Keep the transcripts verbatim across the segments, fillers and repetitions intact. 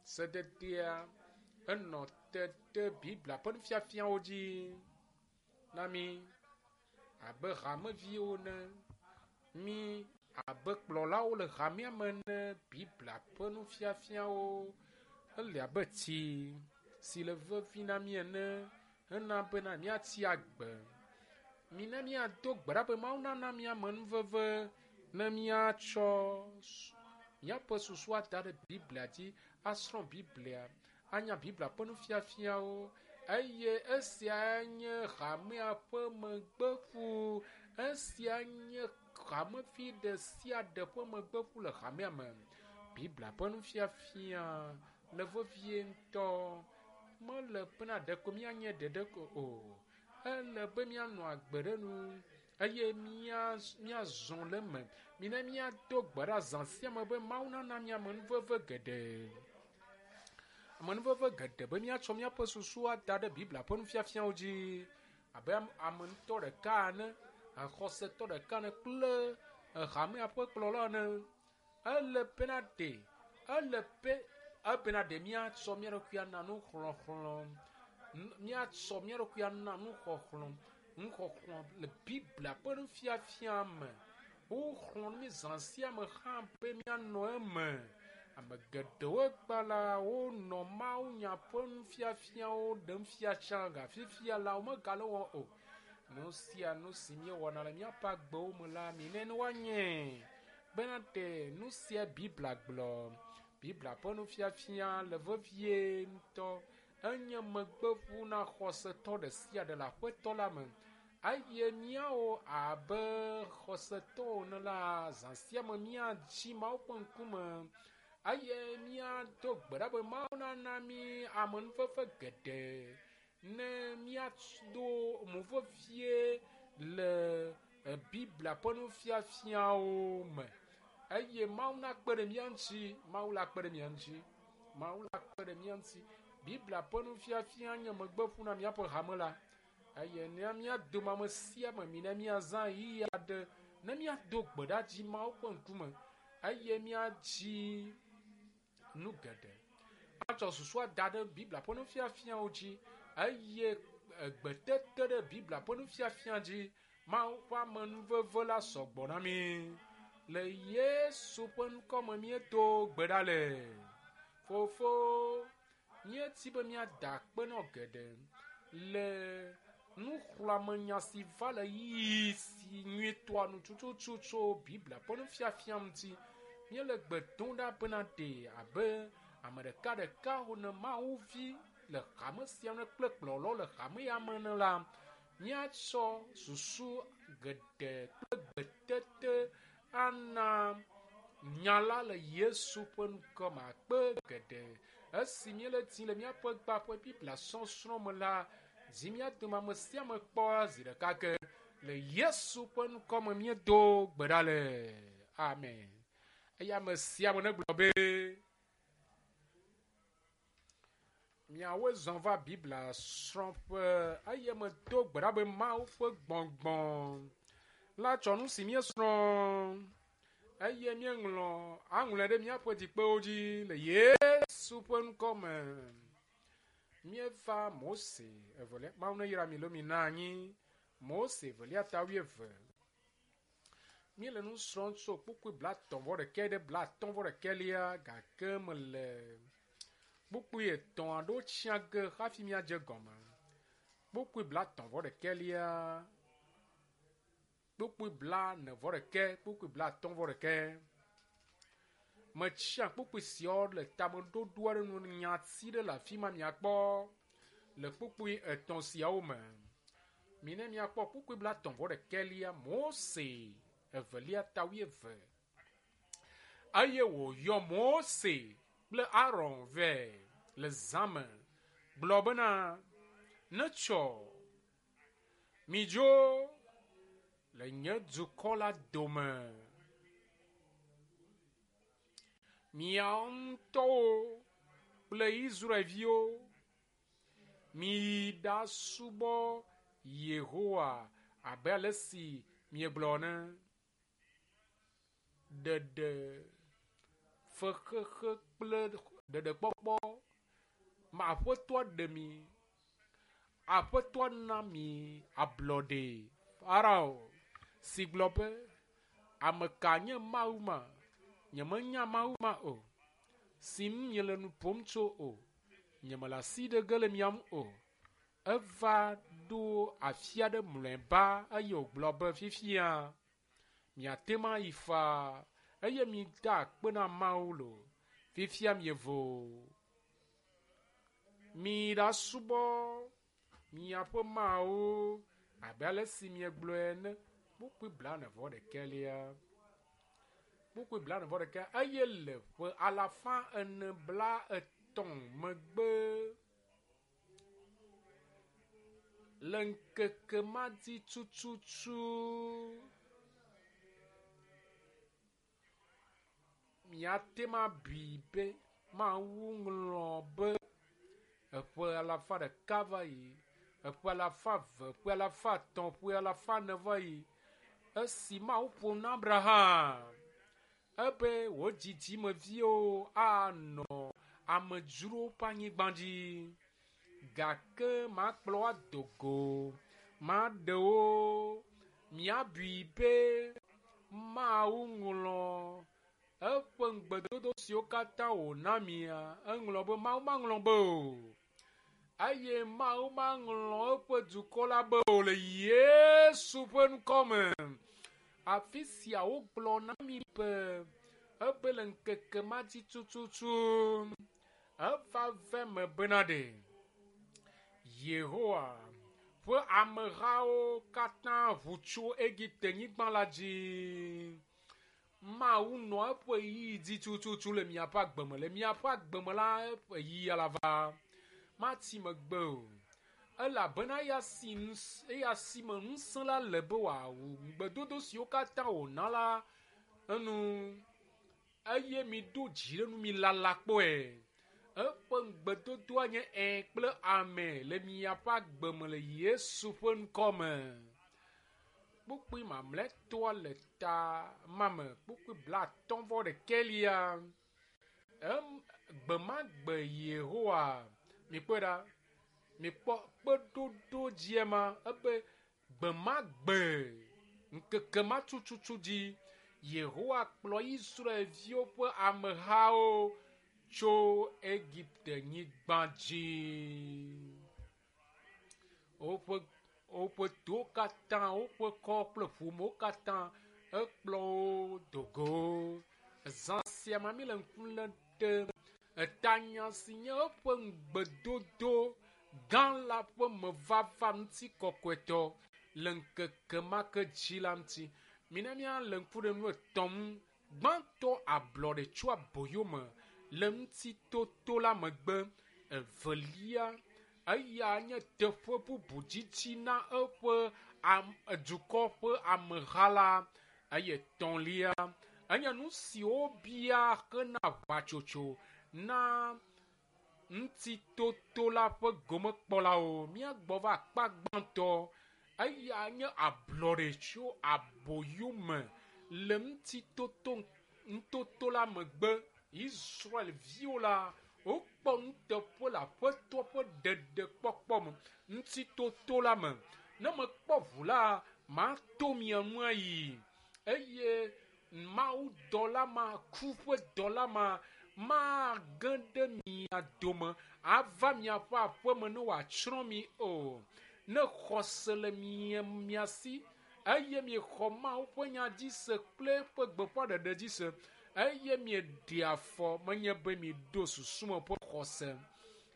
Sededea enɔ te ɖe Biblia ƒe nufiafiawo dzi na mí abe hameviwo ene, mí abe kplɔlawo le hamea me ene. Biblia ƒe nufiafiawo ele abe tsi si le vevi na mí ene hena bena míatsi agbe. Mina míado gbe ɖa be Mawu nana mí amenuveve ne míatsɔ míaƒe susu ada ɖe Biblia dzi, asrɔ̃ Biblia, anya Biblia ƒe nufiafiawo eye esia nye hamea ƒe megbeƒu. Esia nye hamevi ɖe sia ɖe ƒe megbeƒu le hamea me. Biblia ƒe nufiafia le vevie ŋutɔ. Mele bena ɖeko míanye ɖeɖe ko o. Ele be míanɔ agbe ɖe nu eye míazɔ le eme. Mina míado gbe ɖa zã sia me be Mawu nana mí amenuveve geɖe. Amenuveve geɖe be míatsɔ míaƒe susu ada ɖe Biblia ƒe nufiafiawo dzi abe ame ŋutɔ ɖeka ene, xɔsetɔ ɖeka ene kple hamea ƒe kplɔla ene. Ele bena ɖe, ele be ebena ɖe míatsɔ mía ɖokui ana nuxlɔxlɔ̃, míatsɔ mía ɖokui ana nuxɔxlɔ̃, nuxɔxlɔ̃ le Biblia ƒe nufiafia me. Woxlɔ̃ nu mí zã sia me hã be míanɔ eme. Ame geɖewo gba la wonɔ mawunya ƒe nufiafiawo ɖem fia tsã ga fifia la womegale wɔm o. Nu sia nu si míewɔna le míaƒe agbewo me la, minɛ ne woanye bena ɖe nu sia Biblia gblɔ. Biblia ƒe nufiafia le vevie ŋutɔ. Enye megbeƒu na xɔsetɔ ɖe sia ɖe le aƒetɔ la me. Eye míawo abe xɔsetɔwo ene la, zã sia me míatsi Mawu ƒe ŋkume eye míado gbe ɖa be Mawu nana mí amenuveve geɖe ne míado mo vevie le Biblia ƒe nufiafiawo me. Eye Mawu nakpe ɖe mía ŋuti. Mawu la kpe ɖe mía ŋuti. Mawu la kpe ɖe mía ŋuti. Biblia ƒe nufiafia nye megbeƒu na míaƒe hame la. Eye ne mía dome ame sia ame mina míazã ɣeyiɣi aɖe ne míado gbe ɖa dzi Mawu ƒe ŋkume eye míadzi nu geɖe. Atsɔ susu ada ɖe Biblia ƒe nufiafiawo dzi eye egbetete ɖe Biblia ƒe nufiafia dzi Mawu ƒe amenuveve la sɔgbɔ na mí. Le Yesu ƒe ŋkɔ me míedo gbe ɖa le. Fofo, míeti be míada akpe nɔ geɖe le nuxlɔ̃amenya si va le ɣeyiɣi si nyuitɔa nu tututu tso Biblia ƒe nufiafia ŋuti. Míele gbe dom ɖa bena ɖe abe ame ɖekaɖeka ne Mawu vi le hame sia me kple kplɔlawo le hame ya me ene la, míatsɔ susu geɖe kple gbetete ana nya la le Yesu ƒe ŋkɔ me akpe geɖe. Esi míele dim le míaƒe gba ƒe Biblia sɔsrɔ̃ me la, dzi mía dome ame sia ame kpɔ zi ɖeka ke. Le Yesu ƒe ŋkɔ me míedo gbe ɖa le. Amen. Eye ame sia ame negblɔ be miawoe zɔ va Biblia srɔ̃ƒe eye medo gbe ɖa be Mawu ƒe gbɔgbɔ la tsɔ nu si míesrɔ̃ eye míeŋlɔ aŋlɔe ɖe míaƒe dzikpewo dzi le Yesu ƒe ŋkɔ me. Míeva Mose evelia, Mawu neyra mi lo mi na anyi. Mose evelia ta wuieve. Míele nu srɔ̃m tso kpukpui blatɔ̃ vɔ ɖekɛ ɖe blatɔ̃ vɔ ɖekɛlia gake mele kpukpui etɔ̃ aɖewo tsia ge hafi míadze gɔme. Kpukpui blatɔ̃ vɔ ɖekɛlia, kpukpui blane vɔ ɖekɛ, kpukpui blatɔ̃ vɔ ɖekɛ. Metsia kpukpui siawo le tameɖoɖo aɖe nu nyati ɖe le afi ma miakpɔ le kpukpui etɔ̃ siawo me. Mine miakpɔ kpukpui blatɔ̃ vɔ ɖekɛlia Mose evelia ta wuieve. Eye wòyɔ Mose kple Aron vɛ le zã me gblɔ bena, netsɔ midzo le nye dukɔ la dome. Miawo ŋutɔwo kple Israelviwo miyi ɖasubɔ Yehowa abe ale si miegblɔ ene. Ɖeɖe fexexe kple Ɖeɖekpɔkpɔ ma aƒetɔa ɖe mi. Aƒetɔa na mi ablɔɖe. Farao si gblɔ be ame ka nye Mawu ma? Nyemenya Mawu ma o. Si ŋu miele nu ƒom tso o. Nyemele asi ɖe ge le mia ŋu o. Eva ɖo afi aɖe mlɔeba eye wògblɔ be fifia miate ŋu ayi faa eye mida akpe na Mawu lo. Fifia mievo. Mi ɖasubɔ miaƒe Mawu abe ale si miegblɔe ene. Kpukpui blaene vɔ ɖekɛlia. Kpukpui blaene vɔ ɖeka eye le ƒe alafa ene bla etɔ̃ megbe le ŋkeke ma dzi tututu miate ŋu abui be Mawu ŋlɔ be eƒe alafa ɖeka va yi, eƒe alafa eve, ƒe alafa etɔ̃, ƒe alafa ene va yi. Esi Mawu ƒo na Abraham ebe wò dzidzimeviwo anɔ amedzrowo ƒe anyigba dzi gake makplɔ wo ado go, maɖe wo. Miabui be Mawu ŋlɔ eƒe ŋugbedodo siwo katã wòna mia, eŋlɔ be Mawu maŋlɔ be o. Eye Mawu maŋlɔ eƒe dukɔ la be o le Yesu ƒe ŋkɔ me. Afi sia wogblɔ na mi be ebe le ŋkeke ma dzi tututu eva ve me bena ɖe Yehowa ƒe amehawo katã ʋu tso Egipte nyigba la dzi. Mawu nɔ eƒe ɣeyiɣi dzi tututu le miaƒe agbeme. Le miaƒe agbeme la, eƒe ɣeyiɣi la va. Mati megbe o. Elabena eya si ŋus eya si me ŋusẽ la le be wòawu ŋugbedodo siwo katã wòna la enu. Eye miɖo dzi ɖe nu mi lala kpɔe. Eƒe ŋugbedodoa nye ẽ kple ame le miaƒe agbeme le Yesu ƒe ŋkɔ me. Kpukpui mamlɛtɔa le ta ma me. Kpukpui blaatɔ̃ vɔ ɖekɛlia. Em gbe ma gbe Yehowa mikpɔe ɖa. Mikpɔ kpeɖoɖo dzia ma ebe gbe ma gbe ŋkeke ma tututu dzi Yehowa kplɔ Israelviwo ƒe amehawo tso Egipte nyigba dzi. Woƒe woƒe towo katã, woƒe kɔ kple ƒomewo katã ekplɔ wo do go. Zã sia me mi le ŋku lém ɖe etanya si nye eƒe ŋugbedodo gã la ƒe mevava ŋutikɔkɔetɔ le ŋkeke ma ke dzi la ŋuti. Mina míale ŋku ɖe nu etɔ̃ ŋu. Gbãtɔ ablɔɖe tso aboyome le ŋutitoto la megbe. Evelia eya nye teƒe bubu dzidzi na eƒe am dukɔ ƒe ameha la. Eye etɔ̃lia enye nu si wobia hena aʋatsotso na ŋutitoto la ƒe gomekpɔlawo. Míagbɔ va akpa gbãtɔ. Eya nye ablɔɖe tso aboyome le ŋutitoto ŋutoto la megbe. Israelviwo la wokpɔ nuteƒe le aƒetɔ ƒe ɖeɖekpɔkpɔ me ŋutitoto la me. Ne mekpɔ ʋu la, mato mia ŋu ayi eye Mawu dɔla ma, ku ƒe dɔla ma mage ɖe mia dome ava miaƒe aƒeme ne wòatsrɔ̃ mi o. Ne xɔse le mia mia si eye miexɔ Mawu ƒe nya dzi se kple eƒe gbeƒãɖeɖe dzi se eye mieɖe afɔ menye be miɖo susu me ƒe xɔse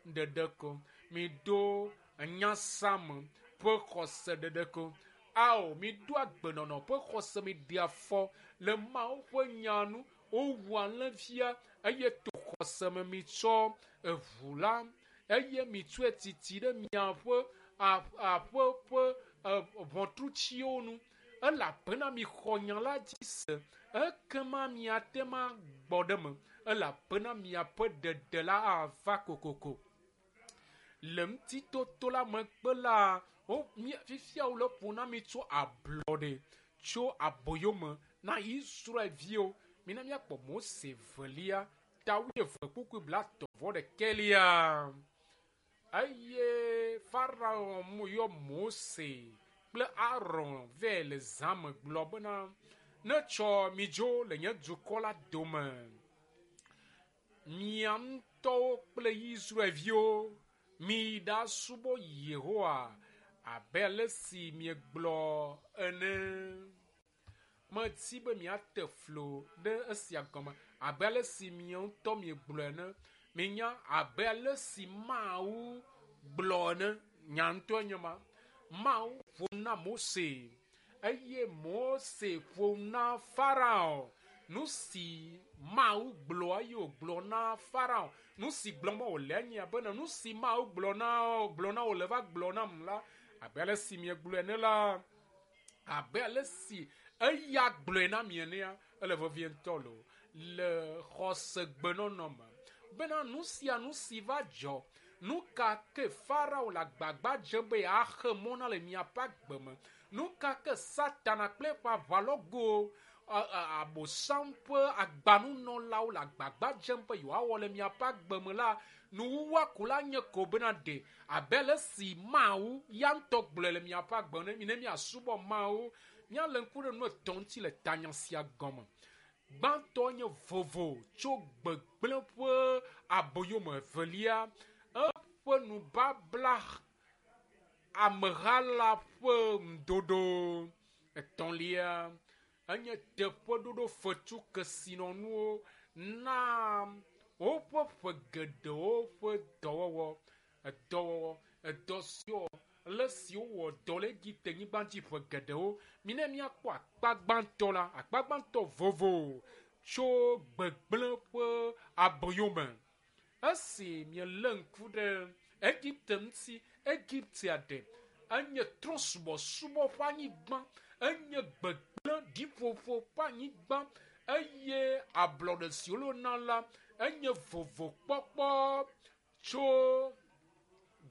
ɖeɖe ko, miɖo nyasame ƒe xɔse ɖeɖe ko. Ao, miɖo agbenɔnɔ ƒe xɔse miɖe afɔ le Mawu ƒe nya nu. Wowu alẽvia eye to xɔse me mitsɔ eʋu la eye mitsɔe titi ɖe miaƒe aƒe ƒe ʋɔtrutsiwo nu elabena mixɔ nya la dzi se ekema miate ŋu agbɔ ɖe eme elabena miaƒe ɖeɖe la ava kokoko. Le ŋutitoto la megbe la, wo fifia wole ƒo na mi tso ablɔɖe tso aboyome na Israelviwo. Mina míakpɔ Mose velia ta wuieve kpukpui blaetɔ̃ vɔ ɖekɛlia. Eye Farao yɔ Mose kple Aron vɛ le zã me gblɔ bena, netsɔ midzo le nye dukɔ la dome. Mia ŋutɔwo kple Israelviwo miyi ɖasubɔ Yehowa abe ale si miegblɔ ene. Medi be miate flo ɖe esia gɔme abe ale si mia ŋutɔ miegblɔ ene. Minya abe ale si Mawu gblɔ ene. Nya ŋutɔe nye ma. Mawu ƒo na Mose eye Mose ƒo na Farao. Nu si Mawu gblɔ eye wògblɔ na Farao. Nu si gblɔm wòle enye bena nu si Mawu gblɔ na gblɔ na wòle va gblɔ nam la, abe ale si miegblɔe ene la, abe ale si eya gblɔe na mi enea, ele vevie ŋutɔ loo le xɔsegbenɔnɔ me. Bena nu sia nu si va dzɔ, nu ka ke Farao le agbagba dzem be yeaxe mɔ na le miaƒe agbe me, nu ka ke Satana kple eƒe aʋalɔgo abosam ƒe agbanunɔlawo le agbagba dzem be yewoawɔ le miaƒe agbe me la, nuwuwua ko la nye ko bena ɖe abe ale si Mawu ya ŋutɔ gblɔe le miaƒe agbe me ne miasubɔ Mawu. Míalé ŋku ɖe nu etɔ̃ ŋuti le tanya sia gɔme. Gbãtɔ nye vovo tso gbegblẽ ƒe aboyome. Evelia, eƒe nubabla ameha la ƒe ŋuɖoɖo. Etɔ̃lia, enye teƒeɖoɖo fetu kesinɔnuwo na woƒe ƒe geɖewo ƒe dɔwɔwɔ. Edɔwɔwɔ, edɔ siwo le si wowɔ dɔ le Egipte nyigba dzi ƒe geɖewo. Mina míakpɔ akpa gbãtɔ la, akpa gbãtɔ vovo tso gbegblẽ ƒe aboyome. Esi mielé ŋku ɖe Egipte ŋuti, Egiptea ɖe enye trɔ̃subɔsubɔ ƒe anyigba, enye gbegblẽ ɖiƒoƒo ƒe anyigba eye ablɔɖe si wona la enye vovokpɔkpɔ tso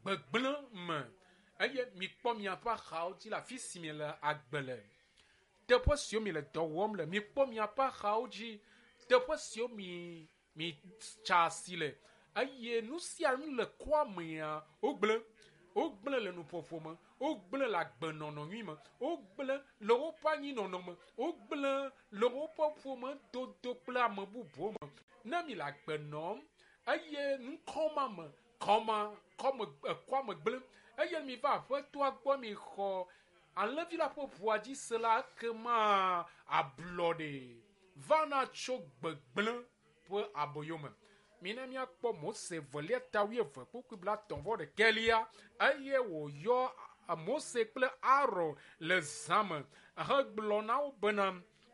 gbegblẽ me. Eye mikpɔ miaƒe axawo dzi le afi si miele agbe le. Teƒe siwo miele dɔ wɔm le, mikpɔ miaƒe axawo dzi. Teƒe siwo mi mi tsa asi le eye nu sia nu le kɔa mea wogblẽ. Wogblẽ le nuƒoƒo me, wogblẽ le agbenɔnɔ nyui me, wogblẽ le woƒe anyinɔnɔ me, wogblẽ le woƒe ƒomedodo kple ame bubuwo me. Ne mi le agbe nɔm eye nukɔma me, kɔma, kɔme, ekɔa me gblẽ eye mi va aƒetɔa gbɔ mi xɔ alẽvi la ƒe ʋua dzi se la, ekema ablɔɖe vana tso gbegblẽ ƒe aboyome. Mina míakpɔ Mose velia ta wuieve kpukpui blaetɔ̃ vɔ ɖekɛlia eye wòyɔ Mose kple Aron le zã me hegblɔ na wo bena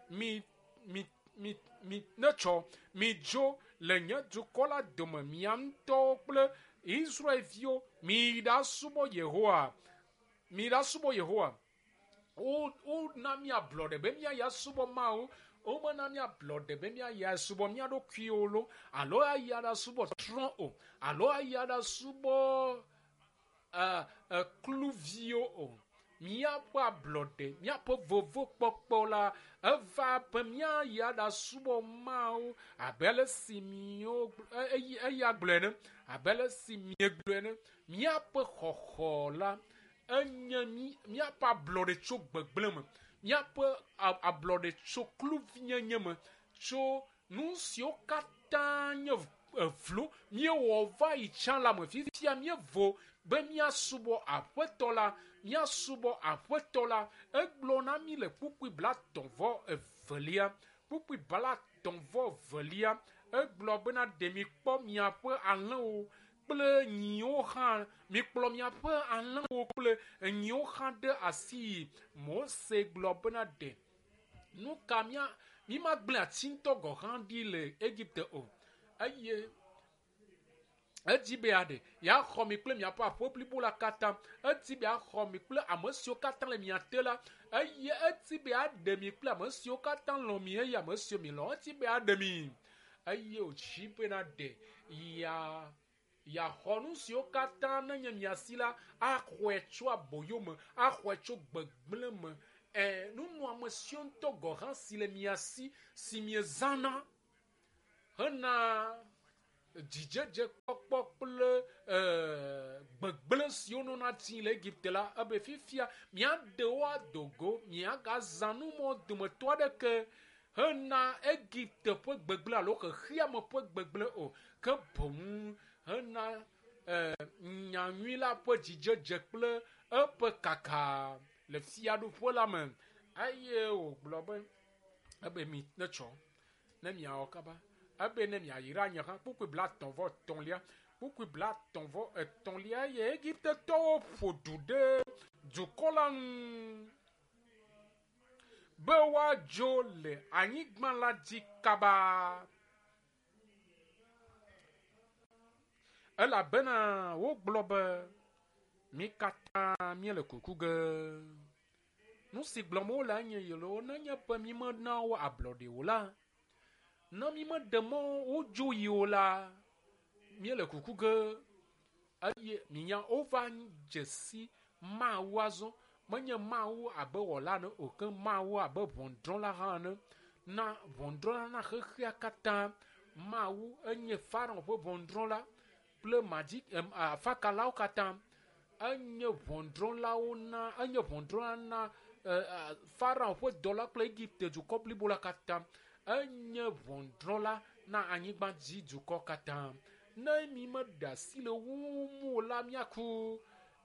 mi mi mi mi netsɔ midzo le nye dukɔ la dome mia ŋutɔwo kple Israelviwo miyi ɖasubɔ Yehowa miyi ɖasubɔ Yehowa. Wo wona mi ablɔɖe be míayi asubɔ Mawu. Womena mi ablɔɖe be míayi asubɔ mía ɖokuiwo lo alo ayi aɖasubɔ trɔ̃ o alo ayi aɖasubɔ ɛ ɛ kluviwo o. Míaƒe ablɔɖe, míaƒe vovokpɔkpɔ la eva be míayi aɖasubɔ Mawu abe ale si miwo eya gblɔe ene, abe ale si miegblɔe ene. Míaƒe xɔxɔ la enye mí míaƒe ablɔɖe tso gbegblẽ me, míaƒe ablɔɖe tso kluvinyenye me, tso nu siwo katã nye evlo míewɔ va yi tsã la me. Fifia míevo be míasubɔ Aƒetɔ la, míasubɔ Aƒetɔ la. Egblɔ na mí le kpukpui blaetɔ̃ vɔ evelia, kpukpui blaetɔ̃ vɔ evelia, egblɔ bena ɖe mikpɔ miaƒe alẽwo kple nyiwo hã, mikplɔ miaƒe alẽwo kple nyiwo hã ɖe asi. Mose gblɔ bena ɖe nu ka mía mímagblẽ ati ŋutɔ gɔ̃ hã ɖi le Egipte o. Eye edzi be yeaɖe yeaxɔ mi kple miaƒe aƒe blibo la katã. Edi be yeaxɔ mi kple ame siwo katã le mia te la. Eye edi be yeaɖe mi kple ame siwo katã lɔ̃ mi eye ame siwo mi lɔ̃. Edi be yeaɖe mi eye wòdzi bena ɖe ya yeaxɔ nu siwo katã nenye mia si la axɔe tso aboyome, axɔe tso gbegblẽ me. Ɛ nunɔame siwo ŋutɔ gɔ̃ hã si le mia si si miezãna hena dzidzedze kpɔkpɔ kple gbegblẽ siwo nɔna tsi le Egipte la, ebe fifia miaɖe wo ado go, miagazã numɔ dometɔ aɖeke hena Egipte ƒe gbegblẽ alo xexeame ƒe gbegblẽ o, ke boŋ hena nyanyui la ƒe dzidzedze kple eƒe kaka le fiaɖuƒe la me. Eye wògblɔ be ebe mi netsɔ ne miawɔ kaba, ebe ne miayra nye hã. Kpukpui blatɔ̃ vɔ etɔ̃lia, kpukpui blatɔ̃ vɔ etɔ̃lia, eye Egiptetɔwo ƒo du ɖe dukɔ la ŋu be woadzo le anyigba la dzi kaba, elabena wogblɔ be mi katã míele kuku ge. Nu si gblɔm wole enye yelo, nenye be mi mena wo ablɔɖe o la, ne mi meɖe mɔ wodzo yi o la, míele kuku ge. Eye minya wova dze si Mawu azɔ. Menye Mawu abe wɔla ene o, ke Mawu abe ʋɔnudrɔ̃la hã ene. Na ʋɔnudrɔ̃la na xexea katã. Mawu enye Farao ƒe ʋɔnudrɔ̃la kple madzi afakalawo katã. Enye ʋɔnudrɔ̃lawo na, enye ʋɔnudrɔ̃la na Farao ƒe dɔla kple Egipte dukɔ blibo la katã. Enye ʋɔnudrɔ̃la na anyigba dzi dukɔ katã. Ne mi meɖe asi le wo ŋu o la, míaku.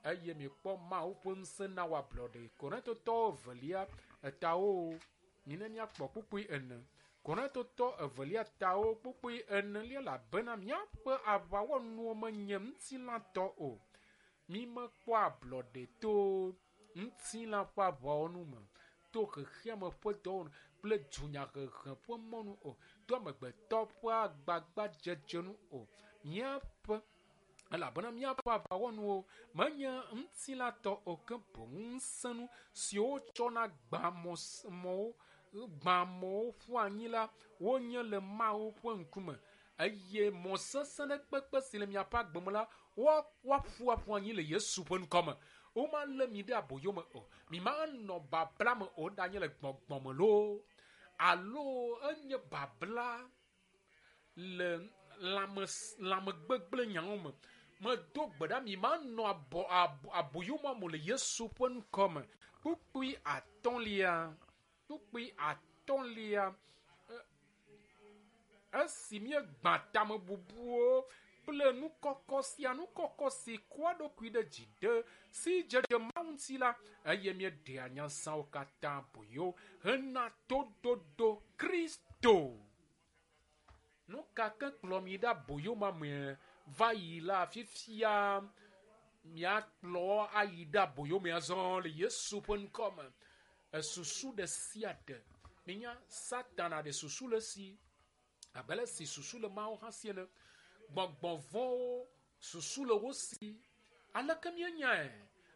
Eye mikpɔ Mawu ƒe ŋusẽ na wo ablɔɖe. Korintotɔwo evelia etawo, mine míakpɔ kpukpui ene. Korintotɔ evelia tawo kpukpui enelia, elabena míaƒe aʋawɔnuwo menye ŋutilãtɔ o. Mi mekpɔ ablɔɖe to ŋutilã ƒe aʋawɔnu me, to xexeame ƒe dɔwɔnu kple dunyahehe ƒe mɔnu o, to amegbetɔ ƒe agbagbadzedze nu o. Míaƒe elabena míaƒe aʋawɔnuwo menye ŋutilãtɔ o, ke boŋ ŋusẽnu siwo tsɔna gbã mɔwo gbã amewo ƒu anyi la, wonye le Mawu ƒe ŋkume. Eye mɔ sesẽ ɖe kpekpe si le miaƒe agbe me la, woaƒu aƒu anyi le Yesu ƒe ŋkɔme. Womalé mi ɖe aboyo me o, mi manɔ babla me o, ɖanye le gbɔgbɔ me loo alo enye babla le lãme lãmegbegblẽ nyawo me. Medo gbe ɖa mi manɔ abɔ aboyo me le Yesu ƒe ŋkɔme. Kpukpui atɔ̃lia, kpukpui atɔ̃lia, esi míegbã tamebubuwo kple nukɔkɔ sia nukɔkɔ si kɔa ɖokui ɖe dzi ɖe si dzedze Mawu ŋuti la, eye míeɖea nyasawo katã boyo hena toɖoɖo Kristo. Nu ka ke kplɔ mi ɖe aboyo ma me va yi la, fifia miakplɔ ayi ɖe aboyo me azɔ le Yesu ƒe ŋkɔme. Esusu ɖe sia ɖe, minya Satana ɖe susu le si, abe ale si susu le Mawu hã si ene. Gbɔgbɔ vɔ̃wo susu le wo si. Aleke míenyae?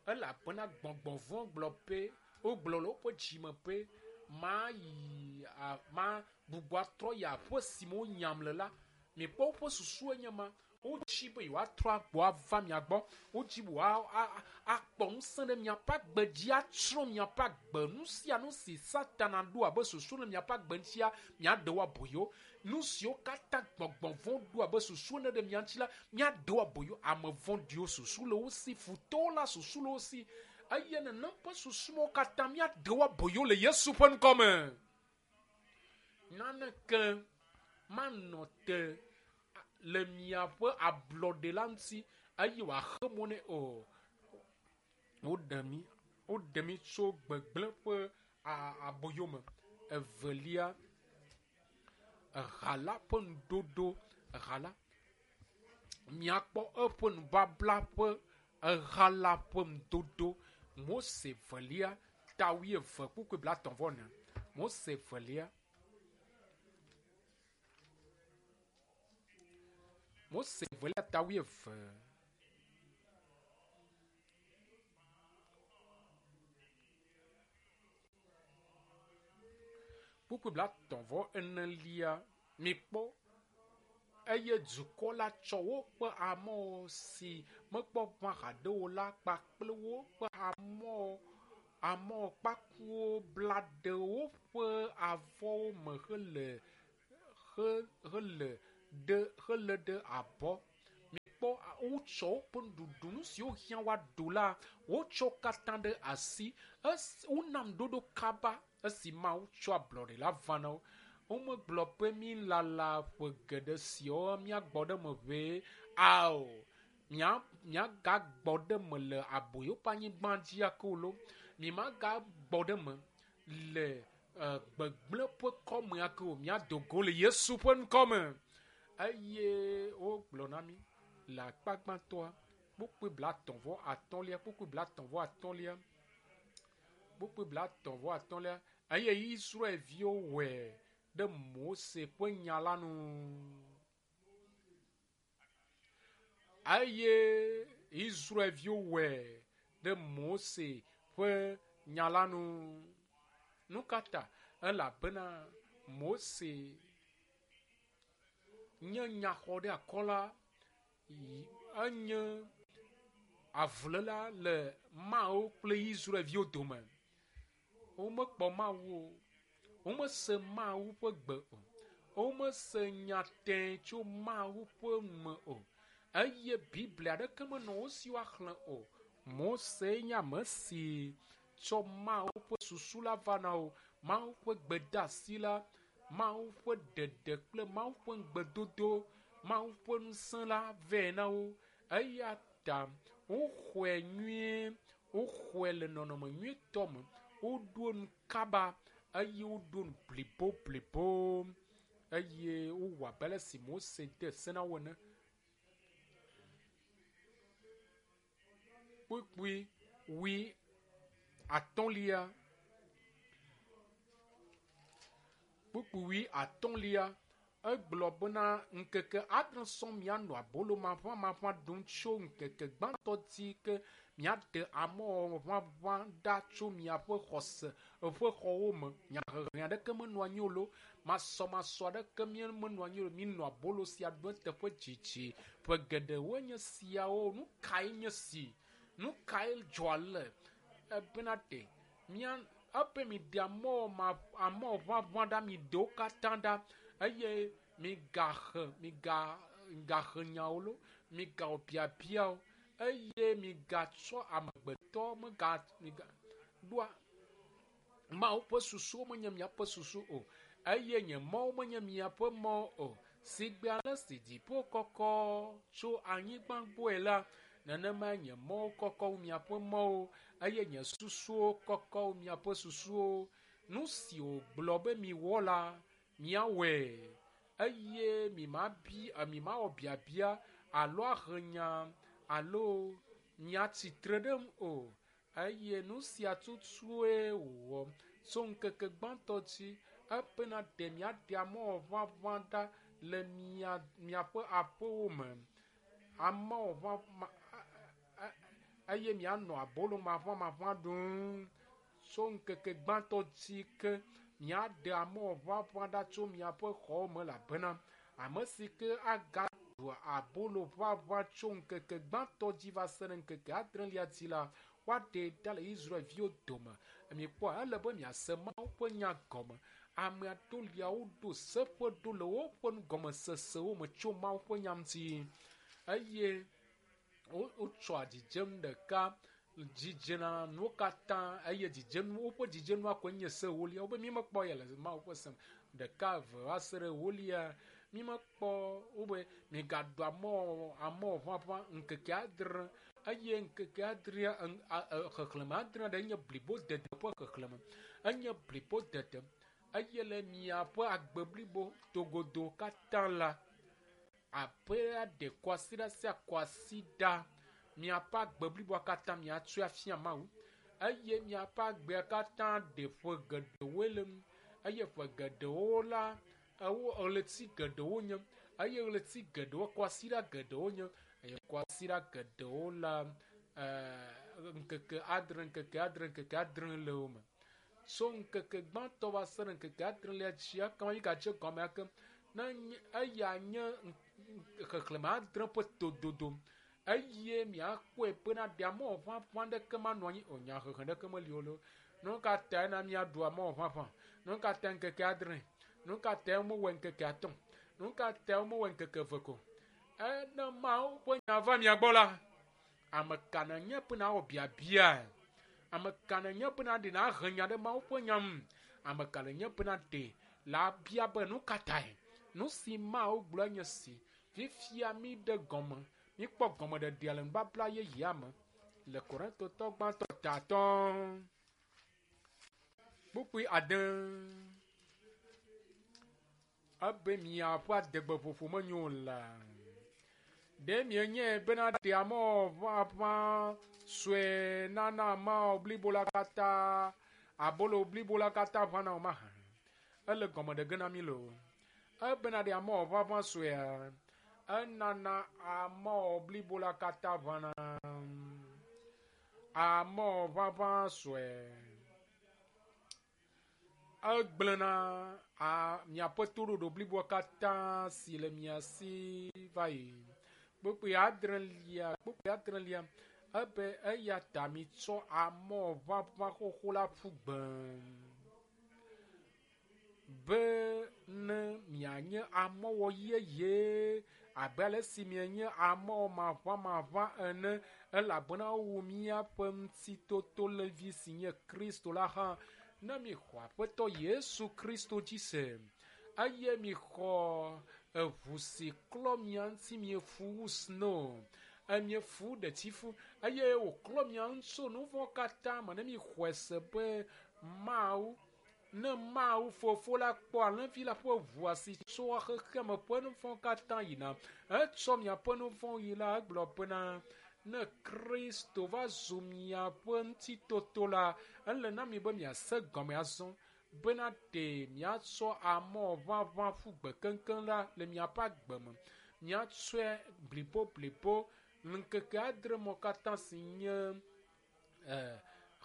Elabena gbɔgbɔ vɔ̃ gblɔ be, wogblɔ le woƒe dzime be, mayi ma gbugbɔ atrɔ yi aƒe si me wonyam le la. Mikpɔ woƒe susu enye ma. Wodzi be yewoatrɔ agbɔ ava mia gbɔ. Wodzi be woakpɔ ŋusẽ ɖe miaƒe agbe dzi, atsrɔ̃ miaƒe agbe. Nu sia nu si Satana ɖo abe susu ɖe miaƒe agbe ŋutia, miaɖe wo aboyo. Nu siwo katã gbɔgbɔ vɔ̃ ɖo abe susu ene ɖe mia ŋuti la, miaɖe wo aboyo. Ame vɔ̃ɖiwo susu le wo si, futɔwo la susu le wo si. Eye nenem ƒe susuwo katã miaɖe wo aboyo le Yesu ƒe ŋkɔme. Naneke manɔ te le miaƒe ablɔɖe la ŋuti eye wòaxe mɔ nɛ o. Woɖe mi, woɖe mi tso gbegblẽ ƒe aboyo me. Evelia, eha la ƒe nuɖoɖo, eha la, miakpɔ eƒe nubabla ƒe eha la ƒe nudodo. Mose velia ta wuieve kpukpui blatɔ̃ vɔ ene. Mose velia. Mose velia ta wuieve. Kpukpui blatɔ̃ vɔ enelia. Mikpɔ eye dukɔ la tsɔ woƒe amewo si mekpɔ ʋã haɖe o la kpakple woƒe amewo amewo kpakuwo bla ɖe woƒe avɔwo me hele he hele ɖe hele ɖe abɔ. Mikpɔ wotsɔ woƒe nuɖuɖu nu siwo hiã woaɖu la wotsɔ wo katã ɖe asi. Esi wona nuɖoɖo kaba esi Mawu tsɔ ablɔɖe la va na wo. Womegblɔ be mi lala ƒe geɖe siawo míagbɔ ɖe eme ʋee ao. Mía míagagbɔ ɖe eme le aboyo ƒe anyigba dzi ake o lo. Mímagagbɔ ɖe eme le gbegblẽ ƒe kɔme ake o. Míado go le Yesu ƒe ŋkɔme. Eye wogblɔ na mí le akpa gbãtɔa kpukpui blatɔ̃ vɔ atɔ̃lia kpukpui blatɔ̃ vɔ atɔ̃lia kpukpui blatɔ̃ vɔ atɔ̃lia eye Israelviwo wɔe ɖe Mose ƒe nya la nu. Eye Israelviwo wɔe ɖe Mose ƒe nya la nu. Nu ka ta? Elabena Mose nye nyaxɔɖeakɔla, enye avuléla le Mawu kple Israelviwo dome. Womekpɔ Mawu o. Womese Mawu ƒe gbe o. Womese nya tẽ tso Mawu ƒe me o. Eye Biblia aɖeke menɔ wo si woaxlẽ o. Mose nye ame si tsɔ Mawu ƒe susu la va na wo. Mawu ƒe gbedeasi la, Mawu ƒe ɖeɖe kple Mawu ƒe ŋugbedodo, Mawu ƒe ŋusẽ la vɛ na wo. Eya ta woxɔe nyuie, woxɔe le nɔnɔme nyuietɔ me. Woɖo nu kaba eye woɖo nu blibo blibo eye wowɔ abe ale si Mose de se na wo ene. Kpukpui wui atɔ̃lia kpukpui wui atɔ̃lia egblɔ bena ŋkeke adre sɔŋ mianɔ abolo maʋamaʋã ɖum tso ŋkeke gbãtɔ dzi ke miaɖe amɔwɔ ʋaʋã ɖa tso miaƒe xɔse ƒe xɔwo me. Nyahehe aɖeke menɔ anyi o lo, masɔmasɔ aɖeke menɔ anyi o. Minɔ abolo sia ɖum eteƒe dzidzi. Ƒe geɖewoe nye siawo. Nu kae nye si? Nu kae dzɔ ale? Ebena ɖe mía ebe miɖe amɔwɔ ma amɔwɔ ʋaʋã ɖa miɖe wo katã ɖa eye migahe miga migahe nyawo lo, migawɔ biabiawo eye migatsɔ amegbetɔ mega miga ɖoa Mawu ƒe susuwo menye miaƒe susu o eye nye mɔwo menye miaƒe mɔwo o. Sigbe ale si dziƒo kɔkɔ tso anyigba gbɔe la, nenemae nye mɔwo kɔkɔ wu miaƒe mɔwo eye nye susuwo kɔkɔ wu miaƒe susuwo. Nu si wògblɔ be miwɔ la, miawɔe eye mimabi mimawɔ biabia alo ahe nya alo miatsitre ɖe ŋu o. Eye nu sia tutue wòwɔ tso ŋkeke gbãtɔ dzi ebena ɖe miaɖe amɔwɔ ʋaʋã ɖa le mia miaƒe aƒewo me. Amɔwɔ ʋaʋã eye mianɔ abolo maʋamaʋã ɖum tso ŋkeke gbãtɔ dzi ke miaɖe amɔwɔ ʋaʋã ɖa tso miaƒe xɔwo me elabena ame si ke agaɖu abolo ʋaʋã tso ŋkeke gbãtɔ dzi va se ɖe ŋkeke adrelia dzi la, woaɖee ɖa le Israelviwo dome. Mikpɔa, ele be miase Mawu ƒe nya gɔme. Ame aɖewo lia woɖo seƒe ɖo le woƒe nugɔmesesewo me tso Mawu ƒe nya ŋuti eye wotsɔa dzidzenu ɖeka dzidzena nuwo katã eye dzidzenu woƒe dzidzenua koe nye se ewolia. Wobe mímekpɔ ya le Mawu ƒe se me. Ɖeka eve va se ɖe ewolia mímekpɔ wobe migaɖu amɔwɔ amɔwɔ ʋaʋã ŋkeke adre eye ŋkeke adrea xexlẽme adre ɖe nye blibodede ƒe xexlẽme. Enye blibodede eye le miaƒe agbe blibo togodo katã la abe aɖe kwasiɖa sia kwasiɖa miaƒe agbe bliboa katã miatsɔe afia Mawu eye miaƒe agbea katã ɖe ƒe geɖewoe le ŋu eye ƒe geɖewo la ewo ɣleti geɖewo nye eye ɣleti geɖewo kwasiɖa geɖewo nye eye kwasiɖa geɖewo la ɛɛ ŋkeke adre ŋkeke adre ŋkeke adre le wo me. Tso ŋkeke gbãtɔ va se ɖe ŋkeke adrelia dzi ekema migadze gɔme ake ne eya nye xexlẽme adre ƒe tododo eye miakpɔe bena ɖe amɔwɔ ʋaʋã ɖeke manɔ anyi o. Nyahehe ɖeke meli o lo. Nu ka tae na míaɖu amɔwɔ ʋaʋã? Nu ka tae ŋkeke adre? Nu ka tae womewɔe ŋkeke atɔ̃? Nu ka ta womewɔ ŋkeke eve ko? Ene Mawu ƒe nya va mia gbɔ la, ame ka nenye be nawɔ biabia? Ame ka nenye be naɖe nahe nya ɖe Mawu ƒe nya ŋu? Ame ka nenye be naɖe la bia be nu ka tae? Nu si Mawu gblɔ nye si. Fifia mi ɖe gɔme, mikpɔ gɔmeɖeɖea le nubabla yeyea me le Korintotɔ gbãtɔ ta atɔ̃ kpukpui ade. Ebe miaƒe adegbeƒoƒo menyo o la. Ɖe mienye bena ɖe amɔ ʋaʋã sue nana amɔ blibo la katã, abolo blibo la katã ʋãna o mahã? Ele gɔme ɖe ge na mi loo. Ebena ɖe amɔ ʋaʋã suea, enana amɔ blibo la katã ʋãna. Amɔ ʋaʋã sue egblẽna a miaƒe toɖoɖo bliboa katã si le mia si va yi. Kpukpui adrelia, kpukpui adrelia, ebe eya ta mitsɔ amɔ ʋaʋã xoxo la ƒu gbe be ne mianye amɔwɔ yeye abe ale si mienye amɔ maʋamaʋã ene elabena wowu míaƒe ŋutitotolevi si nye Kristo la hã. Ne mixɔ Aƒetɔ Yesu Kristo dzi se eye mixɔ eʋu si klɔ mia ŋuti miefu wu snow, miefu ɖetifu eye wòklɔ mia ŋu tso nu vɔ̃ katã me ne mixɔe se be Mawu ne Mawu fofo la kpɔ alẽvi la ƒe ʋua si tsoa xexeame ƒe nu vɔ̃ katã yina etsɔ miaƒe nu vɔ̃ yi la egblɔ bena ne Kristo va zu miaƒe ŋutitoto la ele na mi be miase gɔme azɔ bena ɖe miatsɔ amɔ ʋaʋã ƒu gbe keŋkeŋ la le miaƒe agbe me. Miatsɔe blibo ŋkeke adre mɔ katã si nye eh,